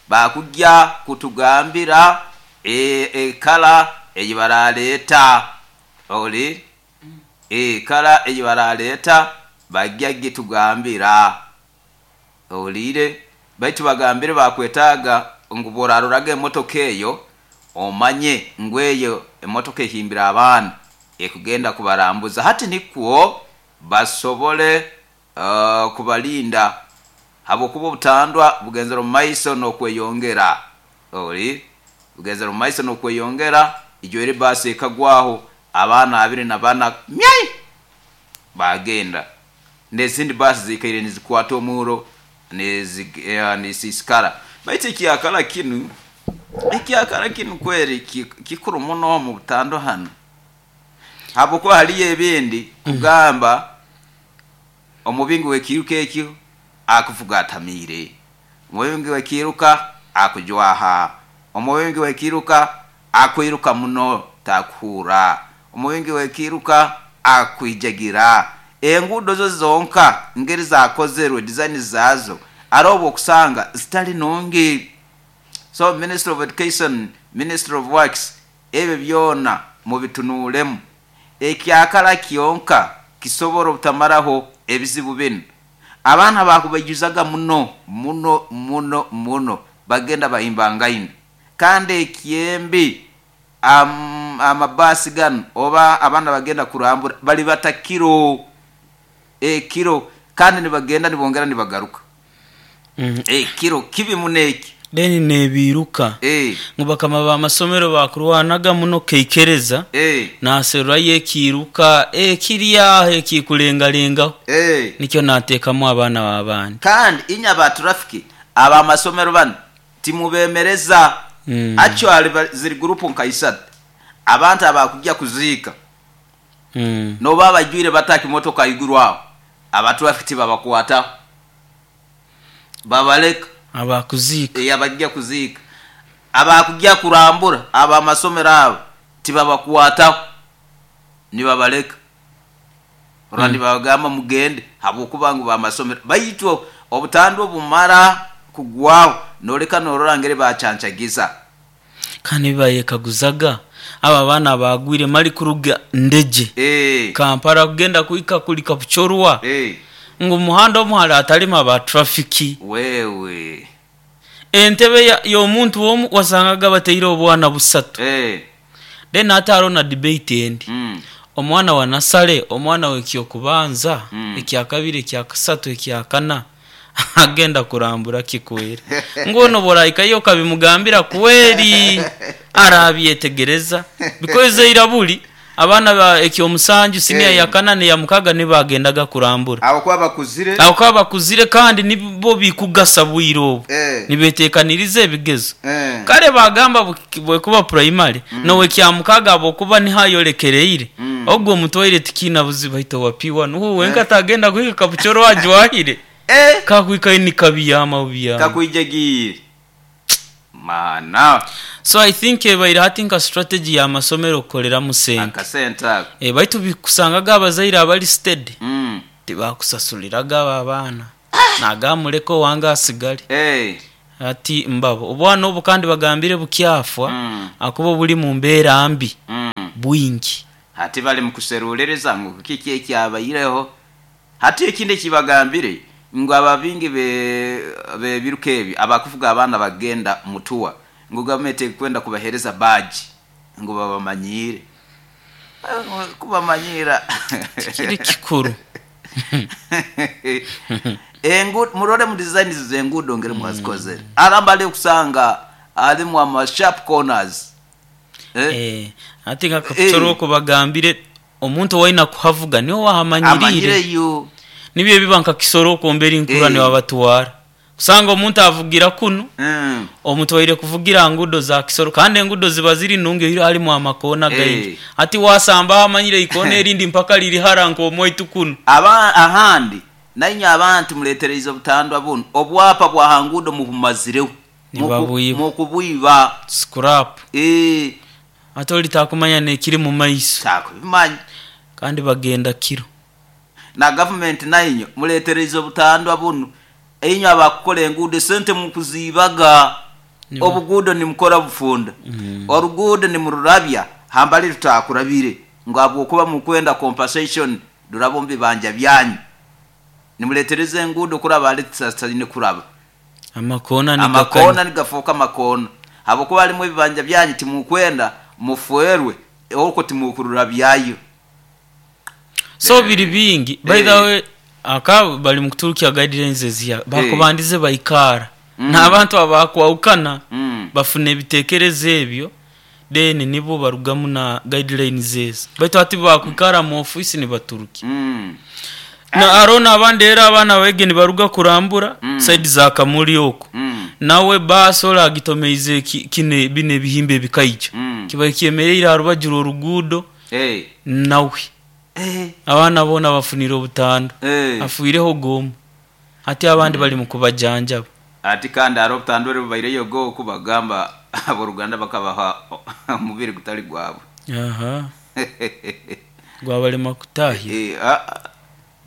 [SPEAKER 1] bakujja kutugambira e, e kala eyibaraleta oli e kala eyibaraleta bajja gitugambira olire baitu bagambire bakwetaga nguboraruraga emotoka eyo omanye ngweyo emotoka ehimbira abaana ekugenda kubarambuza hati nikwo basobole uh, kubalinda habokuba obutandwa bugenzera mu maiso n'okweyongera oli bugenzera mu maiso n'okweyongera ijo eri basi ekagwaho abaana abiri na bana myai bagenda n'ezindi basi zikaire nizikwata omuro nisisikara baitu ekyakala kinu ekyakala kinu kweri kikuru muno mu butando hano habokuba haliyo ebindi kugamba omubingi w'ekiruka ekyo akuvuga atamire omubingi w'ekiruka akujwaha omubingi w'ekiruka akwiruka muno takuhura omubingi w'ekiruka akwijagira enguudo zo zonka ngeri zakozerwe design zazo arobo okusanga zitali nungi. So Minister of Education, Minister of Works ebyo byona mubitunulemu ekyakala kyonka kisobora obutamaraho ebizibu bino. Abaana bakubajuzaga muno muno muno muno bagenda bahimbangaine kandi ekyembi am, amabasi gano oba abaana bagenda kurambura bali batakiro ekiro kandi nibagenda nibongera nibagaruka
[SPEAKER 2] mm.
[SPEAKER 1] ekiro kibi muneki
[SPEAKER 2] deni nebiruka
[SPEAKER 1] eh
[SPEAKER 2] ngo bakama ba masomero bakurwanaga muno keikereza
[SPEAKER 1] eh
[SPEAKER 2] naserura yekiruka ekiriya ekikulengalenga
[SPEAKER 1] eh
[SPEAKER 2] nikyo natekamu abaana babandi
[SPEAKER 1] kandi inya ba traffic aba masomero bano timubemereza
[SPEAKER 2] mm.
[SPEAKER 1] Actually ziri group nkaisat abantu abakujja kuziika
[SPEAKER 2] mm.
[SPEAKER 1] no baba jwire bataki motoka igurwaho aba traffic babakwata babaleka
[SPEAKER 2] abakuzika
[SPEAKER 1] e abajja kuziika abakujja kurambura aba masomero abo tibabakwata nibabaleka Rwandi bagamba mugende habwokuba ngu bamasomero baitu obutandwa bumara kugwaho noleka norora ngere bachanchagiza.
[SPEAKER 2] Kandi bayekaguzaga aba baana bagwire mali kuruga Ndeje
[SPEAKER 1] eh
[SPEAKER 2] Kampala kugenda kuika kuli Kapchorwa
[SPEAKER 1] eh
[SPEAKER 2] ngu muhanda omuhara atalima ba trafiki.
[SPEAKER 1] Wewe
[SPEAKER 2] entebe y'omuntu omu wasangaga bateire obwana busatu.
[SPEAKER 1] Eh
[SPEAKER 2] then ate na debate endi
[SPEAKER 1] mm.
[SPEAKER 2] omwana wa nasale, omwana w'ekyokubanza,
[SPEAKER 1] Mm.
[SPEAKER 2] ekyakabiri, ekyakasatu, ekyakana agenda kurambura kikwere ngono boraikayo kabimugambira kweri arabyetegereza because irabuli abaana ba ekyomusanju senior
[SPEAKER 1] Eh.
[SPEAKER 2] ya kana ne ya mukaga ne bagendaga kurambura
[SPEAKER 1] abo kwa bakuzire
[SPEAKER 2] abo kwa bakuzire kandi nibo bikugasa bwiro obu
[SPEAKER 1] eh
[SPEAKER 2] nibetekaniriza ebigezo
[SPEAKER 1] eh
[SPEAKER 2] kale bagamba bwe kuba primary mm. nowe kyamukaga abo kuba nihayolekereire
[SPEAKER 1] Mm.
[SPEAKER 2] ogwo mutwaire tikina buziba ito wapiwa nuhu wenka tagenda kuhika kabuchoro wajwahire
[SPEAKER 1] eh
[SPEAKER 2] kakwika ni kabiyama biyama
[SPEAKER 1] kakwijegire mana
[SPEAKER 2] so I think ebaire hati nka strategy ya masomero okukolera mu sente
[SPEAKER 1] akasente ako
[SPEAKER 2] e, baitu bikusangaga abazaire abali steady
[SPEAKER 1] mm.
[SPEAKER 2] tibakusasuliraga abo abaana nagamuleka owange asigale
[SPEAKER 1] eh
[SPEAKER 2] ati mbabo obwana obu kandi bagambire bukyafwa
[SPEAKER 1] Mm.
[SPEAKER 2] akuba buli mu mbeera mbi
[SPEAKER 1] mm.
[SPEAKER 2] bwingi
[SPEAKER 1] hati bali mukuserulereza ngu kiki ekyabaireho hati ekindi ekibagambire ngu ababingi be bebiruka ebi abakuvuga abaana bagenda mutuwa ngu gavumenti ekwenda kubahereza baji ngu babamanyire Eh, kubamanyira
[SPEAKER 2] kiri kikuru
[SPEAKER 1] engu murore mu design zengudo ngere mwazikozere aramba ali kusanga alimu ama sharp corners eh,
[SPEAKER 2] eh, ati nka kabuchoro oko bagambire omuntu waina kuhavuga niwe wahamanyirire
[SPEAKER 1] amanyire yu
[SPEAKER 2] nibyo biba nka kisoro oko mbere inkura
[SPEAKER 1] Eh.
[SPEAKER 2] niwe abatwara kusanga omuntu avugira kuno
[SPEAKER 1] mm.
[SPEAKER 2] omuntu waire kuvugira ngudo za kisoro kandi engudo ziba ziri nungi iri halimu amakona
[SPEAKER 1] Eh.
[SPEAKER 2] gaingi ati wasamba amanyire ikona erindi mpaka liri hara nk'omwaitu kuno
[SPEAKER 1] aba ahandi nainya abantu muletereize obutandwa buno obwapa bwa hangudo mubumazireho
[SPEAKER 2] Nibabwiba.
[SPEAKER 1] mukubwiba
[SPEAKER 2] scrap
[SPEAKER 1] eh
[SPEAKER 2] ate oli takumanya nekiri mu maiso
[SPEAKER 1] takubimanyi
[SPEAKER 2] kandi bagenda kiro
[SPEAKER 1] na gavumenti nainyo muletereize obutandwa buno inyo abakukola enguudo esente mukuziibaga
[SPEAKER 2] Niba-
[SPEAKER 1] obuguudo nimukora bufunda oruguudo nimururabya hambali tutakurabire ngu habwokuba mukwenda compensation ruraba omu bibanja byanyu nimuletereza enguudo kuraba hali tutaine kuraba
[SPEAKER 2] amakona
[SPEAKER 1] amakona
[SPEAKER 2] nigakanya
[SPEAKER 1] nigafuuka amakona habwokuba halimu ebibanja byanyu timukwenda muferwe okwo timukururabyayo
[SPEAKER 2] so biri bingi by the
[SPEAKER 1] Eh.
[SPEAKER 2] way aka bali mukuturukya guidelines eziya bakubandize baikara n'abantu abakwawukana
[SPEAKER 1] Mm.
[SPEAKER 2] bafuna ebitekerezo ebyo then nibo barugamu na guidelines ezo baitu ati bakwikara mu ofisi nibaturuki
[SPEAKER 1] Mm.
[SPEAKER 2] na arona abandi era abaana bege nibaruga kurambura mm. side za Kamuli oko
[SPEAKER 1] Mm.
[SPEAKER 2] nawe basola agitomeize ki- kine bine ebihimba ebikaija
[SPEAKER 1] Mm.
[SPEAKER 2] kiba kyemereire aha rubaju rw'oruguudo
[SPEAKER 1] Hey.
[SPEAKER 2] nawe
[SPEAKER 1] Eh.
[SPEAKER 2] abaana boona bafunire obutando
[SPEAKER 1] Eh.
[SPEAKER 2] afiireho gomu ati abandi bali mu kubajanjaba
[SPEAKER 1] Ati kandi hariho obutandwa bubaireyo go kubagamba aboruganda bakabaha omubiri gutali gwabwe
[SPEAKER 2] aha gwabalema kutahira
[SPEAKER 1] Eh, ah, ah,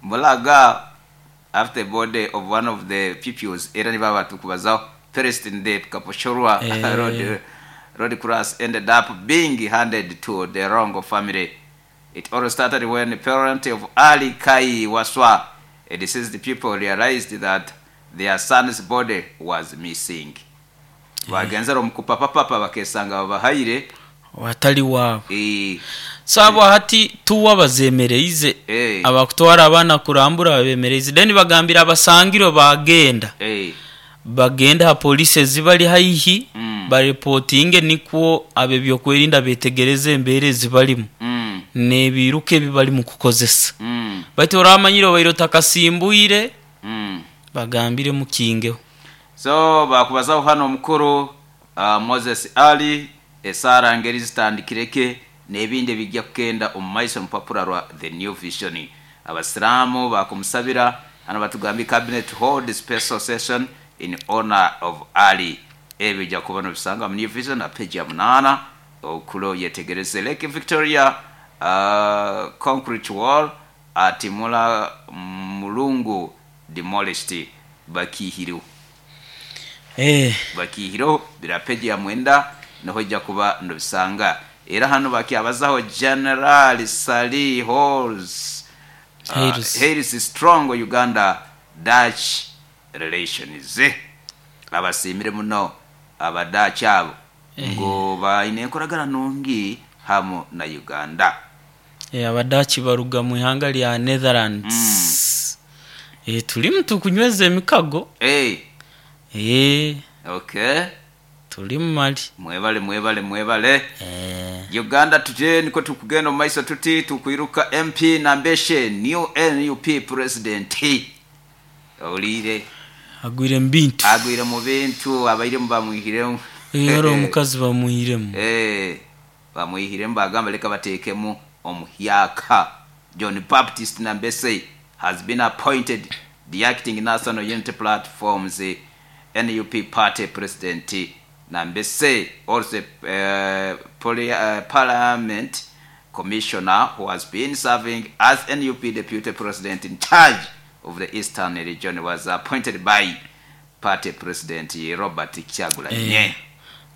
[SPEAKER 1] Mulaga after body of one of the pupils era niba batukubazaho perished in the Kaposhorwa
[SPEAKER 2] Eh.
[SPEAKER 1] road road crash ended up being handed to the wrong family. It all started when the parent of Ali Kai Waswa, a deceased pupil, realized that their son's body was missing. Bagenzera omukupapapapa bakesanga babahaire
[SPEAKER 2] watali waabo
[SPEAKER 1] eh,
[SPEAKER 2] so abo hati tuwa bazemereize
[SPEAKER 1] eh,
[SPEAKER 2] abakutwara abaana kurambura babemereize then bagambira abasangirwe bagenda
[SPEAKER 1] eh,
[SPEAKER 2] bagenda ha polisi ezibali haihi
[SPEAKER 1] Mm.
[SPEAKER 2] barepotinge nikwo ab'ebyokwerinda betegereze embeera ezibalimu
[SPEAKER 1] mm,
[SPEAKER 2] n'ebiruka ebi bali mu kukozesa
[SPEAKER 1] mm,
[SPEAKER 2] baitu oramanyire obaire otakasimbwire
[SPEAKER 1] mm.
[SPEAKER 2] bagambire mukingeho
[SPEAKER 1] so bakubazaho hano omukuru uh, Moses Ali esara ngeri zitandikireke n'ebindi ebijja kugenda omu maiso omupapura rwa the New Vision. Abasiraamu bakumusabira hano batugambye cabinet hold special session in honor of Ali. Ebyo bijja kuba nobisanga mu New Vision na page ya munana okulo yetegereze Lake Victoria uh, concrete wall Ati mula mulungu demolished bakihiriho
[SPEAKER 2] Eh,
[SPEAKER 1] bakihiriho bira peji ya mwenda niho ijja kuba nobisanga. Era hano bakyabazaho General Sali Halls uh,
[SPEAKER 2] Harris.
[SPEAKER 1] Harris strong Uganda Dutch relations. Abasimire muno abadachi abo ngo baine enkoragana nungi hamu na Uganda.
[SPEAKER 2] Eh, abadachi baruga mu ihanga lya Netherlands. Eh, tulimu tukunyweza emikago.
[SPEAKER 1] Hey,
[SPEAKER 2] Eh,
[SPEAKER 1] okay,
[SPEAKER 2] tulimu mali.
[SPEAKER 1] Mwebale mwebale mwebale.
[SPEAKER 2] Eh,
[SPEAKER 1] Uganda tuje niko tukugenda mu maiso tuti tukwiruka M P Nambeshe new N U P president. Olire
[SPEAKER 2] agwire mu bintu.
[SPEAKER 1] Agwire mu bintu abaire mu bamwihiremu.
[SPEAKER 2] Eh, ari omukazi bamwihiremu.
[SPEAKER 1] Eh, bamwihiremu bagamba leka bateekemu omuhyaka. John Baptist Nambeshe has been appointed the acting National Unity Platform's N U P party president. Nambeshe also uh, poly, uh, parliament commissioner who has been serving as N U P deputy president in charge of the Eastern region was appointed by party president Robert Kyagulanyi.
[SPEAKER 2] Eh,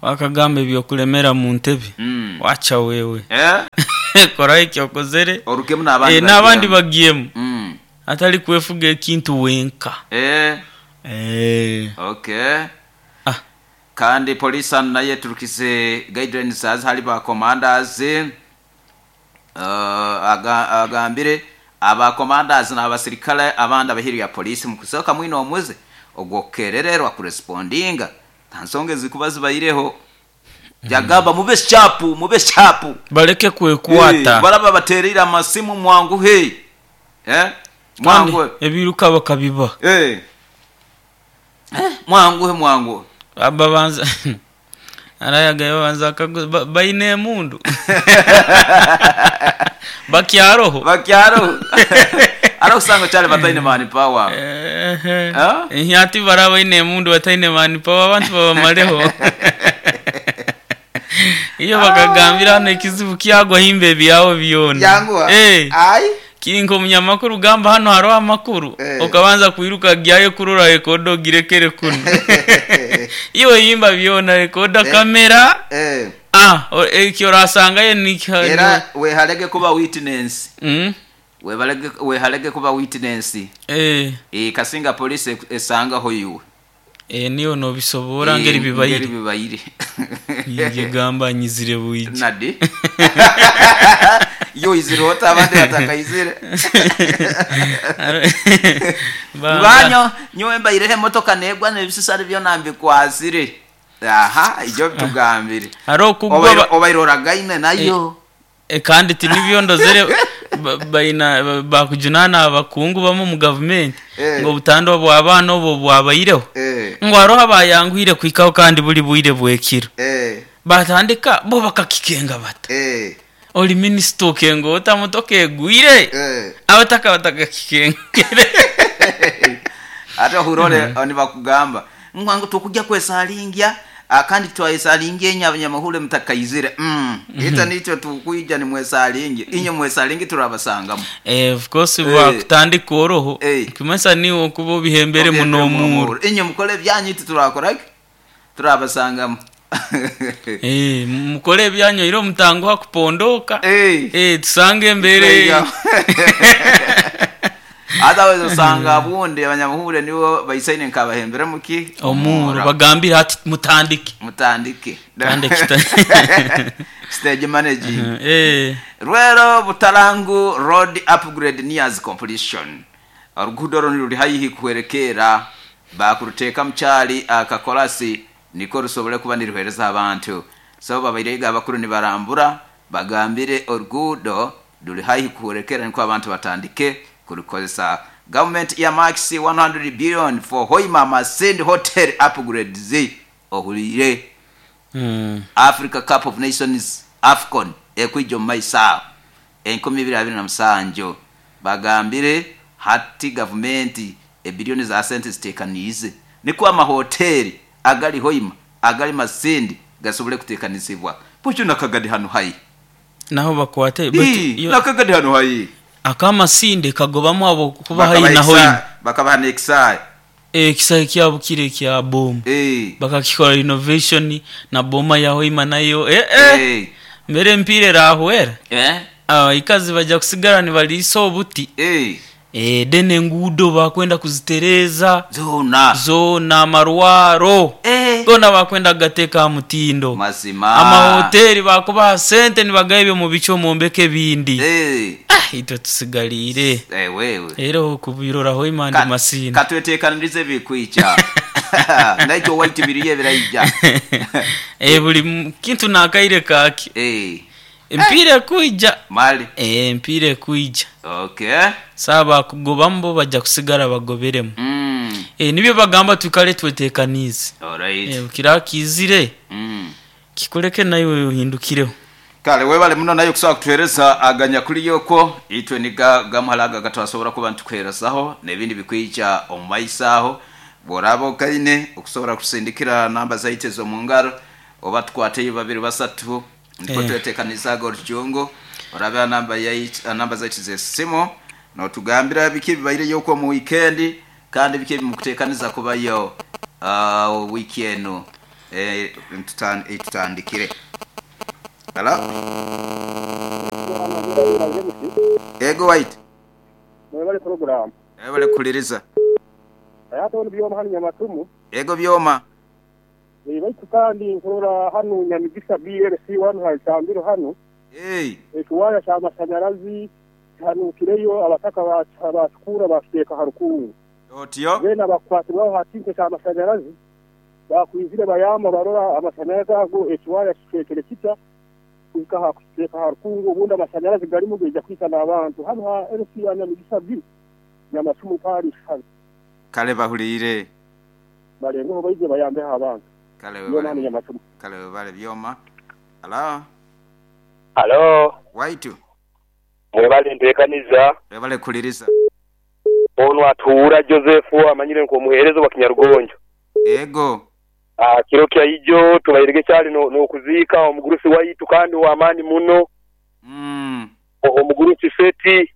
[SPEAKER 2] wakagamba ebyokulemera mu ntebe.
[SPEAKER 1] Mm.
[SPEAKER 2] Wacha wewe.
[SPEAKER 1] Eh?
[SPEAKER 2] Kora ekyokozere.
[SPEAKER 1] Orukemu n'abandi
[SPEAKER 2] Eh, n'abandi
[SPEAKER 1] bagiyemu.
[SPEAKER 2] bagiyemu.
[SPEAKER 1] Mm.
[SPEAKER 2] Atali kwefuga ekintu wenka.
[SPEAKER 1] Eh.
[SPEAKER 2] Eh.
[SPEAKER 1] Okay.
[SPEAKER 2] Ah.
[SPEAKER 1] Kandi police naye turukize guidelines az hali ba commanders uh, aga, agambire aba commanders n'abasirikale abandi abahiri ya police mu kusoka mwino omuze ogwokerererwa kurespondinga tansonge zikuba zibaireho. Jagamba mube sharp, mube sharp,
[SPEAKER 2] baleke kwekwata.
[SPEAKER 1] Eh, baraba baterera amasimu mwangu he. Eh? Mwangu
[SPEAKER 2] ebiruka bakabiba.
[SPEAKER 1] Eh. Eh, mwangu he mwangu.
[SPEAKER 2] Aba banza arayaga banza kagu baine emundu. Bakyaroho.
[SPEAKER 1] Bakyaroho. Ara usanga cyane bataine mani power.
[SPEAKER 2] Eh.
[SPEAKER 1] Eh?
[SPEAKER 2] Ati baraba ine emundu bataine mani power abantu babamaleho. Iyo bakagambira hano ikizibu kyagwa himbe byawo byona.
[SPEAKER 1] Yangwa.
[SPEAKER 2] Eh.
[SPEAKER 1] Ai.
[SPEAKER 2] Kirinko munyamakuru gamba hano haro amakuru.
[SPEAKER 1] Eh.
[SPEAKER 2] Okabanza kwiruka gyayo kurura rekodo girekere kuno. Iyo yimba byona rekoda
[SPEAKER 1] Eh.
[SPEAKER 2] kamera.
[SPEAKER 1] Eh.
[SPEAKER 2] Ah, ekyo rasanga ye ni
[SPEAKER 1] Era we halege kuba witness.
[SPEAKER 2] Mm.
[SPEAKER 1] We balege we halege kuba witness.
[SPEAKER 2] Eh.
[SPEAKER 1] Eh, kasinga police esanga ho yuwe.
[SPEAKER 2] Eh, niyo no bisobora ngeri bibayire.
[SPEAKER 1] Ngeri bibayire.
[SPEAKER 2] Nige gamba nyizire buije.
[SPEAKER 1] Nadi. Yo izirota abandi batakayizire. Banyo nyowe mbayirehe motoka negwa nebisisari byo nambikwazire. Aha, ibyo tugambire.
[SPEAKER 2] Haro kugwa
[SPEAKER 1] obairora gaine nayo.
[SPEAKER 2] E, e kandi tinibyo ndozere baina bakujunana abakungu bamo mu government
[SPEAKER 1] eh.
[SPEAKER 2] Ngo butando bw'abana obo bwabayireho.
[SPEAKER 1] Eh.
[SPEAKER 2] Ngo aroha bayanguhire kwikaho kandi buli bwire bwekiro.
[SPEAKER 1] Eh.
[SPEAKER 2] Batandika bo bakakikenga bata.
[SPEAKER 1] Eh.
[SPEAKER 2] Oli minister okengo otamotoka egwire.
[SPEAKER 1] Eh.
[SPEAKER 2] Abataka batakakikengere.
[SPEAKER 1] Ate hurole mm -hmm. Nibakugamba ngwangu tukujja kwesalingia akandi twayesalingia enye abanyamahule mutakaizire. Mm. Ita nicho tukuija ni mwesalingi inye mwesalingi turabasangamu.
[SPEAKER 2] Eh, of course
[SPEAKER 1] eh.
[SPEAKER 2] Bakutandika oroho
[SPEAKER 1] eh.
[SPEAKER 2] Kimasa niwo kubo bihembere muno muru
[SPEAKER 1] inye mukole byanyu turakora turabasangamu.
[SPEAKER 2] Eh, mukole byanyu iro mutango hakupondoka.
[SPEAKER 1] Eh.
[SPEAKER 2] Eh, tusange mbere.
[SPEAKER 1] Otherwise usanga bundi abanyamuhure nibo bayisaine nkabahembera muki
[SPEAKER 2] omuro bagambira ati mutandike
[SPEAKER 1] mutandike
[SPEAKER 2] tandike
[SPEAKER 1] stage managing.
[SPEAKER 2] Eh,
[SPEAKER 1] Rwero Butalangu road upgrade nears completion. Orugudo ruri hayihi kuherekera bakuruteka mchali akakolasi niko rusobole kuba niruhereza abantu. So babairega abakuru ni barambura bagambire orugudo ruri hayihi kuherekera niko abantu batandike kurukozesa. Government ya max one hundred billion for Hoima Masindi Hotel upgrades ohulire.
[SPEAKER 2] Mm.
[SPEAKER 1] Africa Cup of Nations AFCON ekwijo maisa enkumi ibiri abiri na musanju bagambire hati government ebilioni za sente zitekanize niko amahoteli agali Hoima agali Masindi gasobole kutekanizibwa pucho nakagadi hano hayi
[SPEAKER 2] naho bakwate
[SPEAKER 1] but nakagadi hano hayi
[SPEAKER 2] Akamasinde kagobamu abo kuba haihi na Hoima.
[SPEAKER 1] Bakabaha n'ekisaayi.
[SPEAKER 2] Ekisaayi kyabo kiri ekya bomu.
[SPEAKER 1] Eh.
[SPEAKER 2] Bakakikora renovation na boma ya Hoima nayo. Eh eh.
[SPEAKER 1] Eh.
[SPEAKER 2] Mbere mpira erahwera.
[SPEAKER 1] Eh.
[SPEAKER 2] Abakazi bajja kusigara nibaliisa obuti.
[SPEAKER 1] Eh.
[SPEAKER 2] Eh, then enguudo bakwenda kuzitereza.
[SPEAKER 1] Zoona.
[SPEAKER 2] Zoona amarwaro.
[SPEAKER 1] Eh.
[SPEAKER 2] Gona bakwenda kugateeka aha mutindo.
[SPEAKER 1] Mazima.
[SPEAKER 2] Amahoteri bakubaha sente nibagaha ebyo mubico mwombeke ebindi.
[SPEAKER 1] Eh.
[SPEAKER 2] Ah, itwe tusigaliire.
[SPEAKER 1] Eh, wewe.
[SPEAKER 2] Era okubirora Hoima ndi Masindi.
[SPEAKER 1] Katweteekanirize ebikwija. Naitwe owaitu biriyo ebiraija.
[SPEAKER 2] Eh, buli kintu nakaire kake.
[SPEAKER 1] Eh.
[SPEAKER 2] Empiira ekwija.
[SPEAKER 1] Mali.
[SPEAKER 2] Eh, empiira ekwija.
[SPEAKER 1] Okay.
[SPEAKER 2] Saaba kugobamu bo bajja kusigara bagoberemu.
[SPEAKER 1] Mm.
[SPEAKER 2] Eh, nibyo bagamba twikale tweteekanize.
[SPEAKER 1] Alright.
[SPEAKER 2] Eh, kira kizire.
[SPEAKER 1] Mm.
[SPEAKER 2] Kikuleke naiwe ohindukireho.
[SPEAKER 1] Kale webale muno nayo kusobola kutuheereza aganyakuli yokwo itwe niga gamuhalaga gatwasobora kuba nitukuheerezaho n'ebindi bikwija omu maiso aho bw'oraaba okaine okusobola kusindikira namba zaitu ez'omu ngaro oba tukwateyo babiri basatu niko
[SPEAKER 2] Eh.
[SPEAKER 1] tweteekanizaga orujungu orabe namba yaitu namba zaitu z'essimu n'otugambira biki bibaireyo okwo mu weekend kandi biki ebimukuteekaniza kubayo uh, wiiki enu eh, tutan- tutandikire. Hello? Ego white.
[SPEAKER 3] Mwebale program.
[SPEAKER 1] Ebale kuliriza.
[SPEAKER 3] Ayate ono byoma hano Nyamatumu.
[SPEAKER 1] Ego byoma.
[SPEAKER 3] Baitu kandi nkurora hano Nyamigisa B L C one haitambiro hano.
[SPEAKER 1] Hey.
[SPEAKER 3] Ekiwaya ky'amasanyarazi kihanukireyo abataka bakikura bakiteeka ha rukungu.
[SPEAKER 1] Otyo.
[SPEAKER 3] Bena bakwatibwaho ha kintu ky'amasanyarazi bakwizire bayamba barora amasanyarazi ago ekiwaya kicwekere kita kuhika ha kukiteeka ha rukungu obundi amasanyarazi garimu gaija kwita n'abantu hano ha L C ya Nyamigisa B Nyamatumu parish hano.
[SPEAKER 1] Kale bahuliire.
[SPEAKER 3] Barengeho baije bayambeho abantu.
[SPEAKER 1] Kale
[SPEAKER 3] Byoma hano
[SPEAKER 1] webale.
[SPEAKER 3] Nyamatumu.
[SPEAKER 1] Kale webale byoma. Hello?
[SPEAKER 4] Halo,
[SPEAKER 1] Waitu.
[SPEAKER 4] mwebale nteekaniza.
[SPEAKER 1] Webale kuliriza.
[SPEAKER 4] Ono atuura Joseph amanyire nk'omuheereza wa Kinyarugonjo.
[SPEAKER 1] Ego.
[SPEAKER 4] Ah, kiro kya ijo tubairege kyali no n'okuziika omugurusi waitu kandi w'amaani muno.
[SPEAKER 1] Mm.
[SPEAKER 4] Omugurusi Seti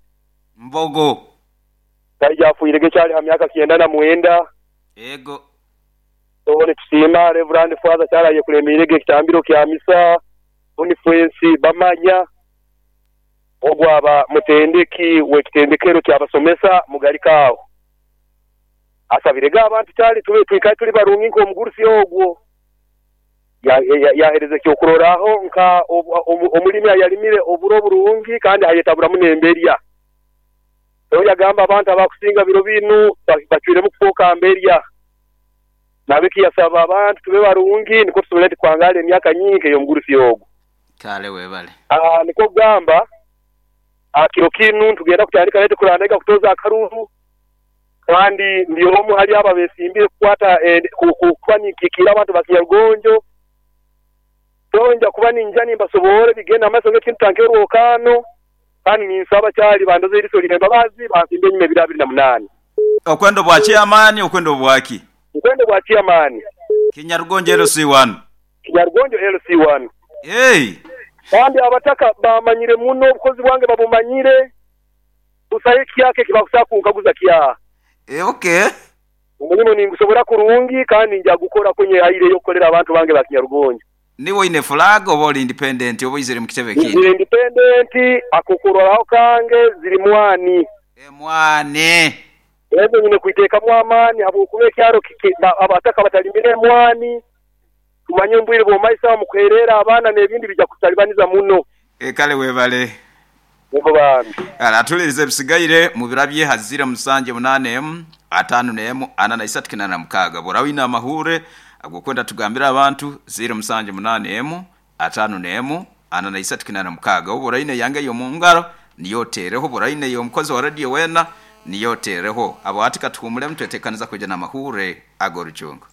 [SPEAKER 1] Mbogo.
[SPEAKER 4] kaija afuirege kyali ha myaka kyenda na mwenda.
[SPEAKER 1] Ego.
[SPEAKER 4] Tobone tusiima Reverend Father kyali ayekulemirege ekitambiro kya misa Boniface bamanya ogwaba mutendeki w'ekitendekero kyabasomesa mugalika aho. Asabirega abantu kyali tube twikaye tuli barungi nk'omugurusi ogwo. Yahereza ekyokuroraho nka omulimi ayalimire oburo burungi kandi ayetaburamu n'emberya. So yagamba abantu abakusinga biro binu bacwiremu kufuuka mberya. Nabiki yasaba abantu tube barungi niko tusobole kwangala emyaka nyingi ey'omugurusi ogwo.
[SPEAKER 1] Kale webale.
[SPEAKER 4] Ah, niko kugamba akiro kinu tugenda kutandika lete kulandeka kutoza akaruru kandi ndi omu hali aba besimbire kukwata eh, kuba nikikira abantu bakinyarugonjo tonja kuba ninja nimbasobore bigenda amaso ng'ekintu tankerwokano kandi ninsaba kyali bandoze eriso lirembabazi bansimbe enyuma ebiro abiri na munaani.
[SPEAKER 1] Okwendo bwa chairman okwendo bwaki?
[SPEAKER 4] Okwendo bwa chairman.
[SPEAKER 1] Kinyarugonjo L C one.
[SPEAKER 4] Kinyarugonjo L C one.
[SPEAKER 1] Hey.
[SPEAKER 4] Kandi abataka bamanyire muno obukozi bwange babumanyire busaye kyake kibakusa kunkaguza kya.
[SPEAKER 1] Eh, okay.
[SPEAKER 4] Omulimu ningusobora kurungi kandi nja gukora kunye aire yokukolera abantu bange ba Kinyarugonjo.
[SPEAKER 1] Niwe ine flag oba oli independent oba izire mu kitebe kindi?
[SPEAKER 4] Ndi independent akukuroraho kange ziri mwani.
[SPEAKER 1] E mwani.
[SPEAKER 4] Ezo nyine kuiteekamu amaani habwokuba ekyaro abataka batalimire mwani. Tumanye mbwire bw'omaisa mu kuherera abaana n'ebindi bijja kutalibaniza muno.
[SPEAKER 1] E kale webale.
[SPEAKER 4] Yego bambi.
[SPEAKER 1] Ala tulirize ebisigaire mu birabye hazira musanje munane emu atano n'emu ana na isatu kinana mukaga. Bw'orawina amahure agokwenda tugambira abantu ziro musanje munane emu atano n'emu ana na isatu kinana mukaga. Oboraine yange yo mu ngaro niyo tereho boraine yo mukozi wa radio wena niyo tereho. Abo atika tuhumule mtwetekaniza kuja na mahure agorujungu.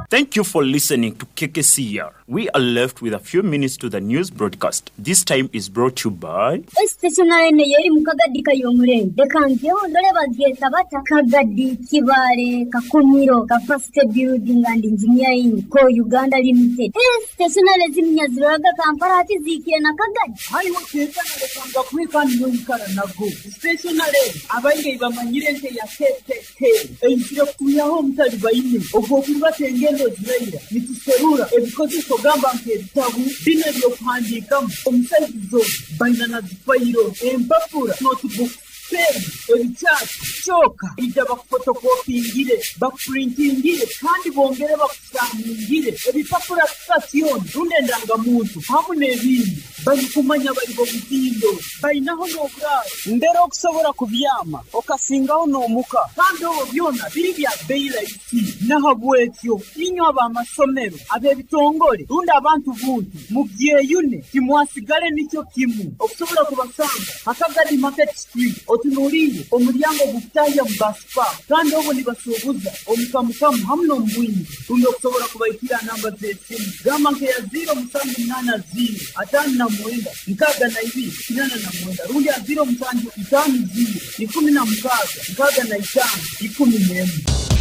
[SPEAKER 5] Thank you for listening to K K C R We are left with a few minutes to the news broadcast. This time is brought to you by
[SPEAKER 6] Stationary yeri mu Kagadi kayomurenge reka ngeho ndore bagyeta bata Kagadi Kibale Kakumiro Capacity Building and Engineering Co Uganda Limited. Stationary ziminyaziraga Kampala ati zikire na Kagadi
[SPEAKER 7] hariho tekana rekanga kwikani n'oyikara nago stationary abaingi bamanyire nke ya K K K eyisire kutuyaho omutali baine ogwo kurubata engendo ziraira nituserura ebikozeso gamba nk'ebitabu bino ebyokuhandiikamu omusaizizo baina na zifayiro empapura notebook pen ebikyati kyoka ija bakufotokopingire bakupurintingire kandi bongere bakusaningire ebipapura sitasioni rundi endangamuntu hamu n'ebindi barikumanya bari bomutindo bainaho n'oburaaro mbere okusobola kubyama okasingaho n'omuka kandi obwo byona biri bya beyi rahisi nahabwekyo inywe ab'amasomero ab'ebitongole rundi abantu buntu mubyeyune timwasigale nikyo kimu okusobola kubasanga Akagadi Market Street otunuliire omulyango gukutahya mu basipa kandi obwo nibasuubuza omukamukamu hamu n'omubwingi rundi okusobola kubaikira namba z'esimu gamba nkeya ziro musanju munaana ziro ataano na mwenda nkaaga na ibiri kinana na mwenda rundi ya ziro musanju itaano ziro ikumi na mukaaga nkaaga na itaano ikumi n'emwe.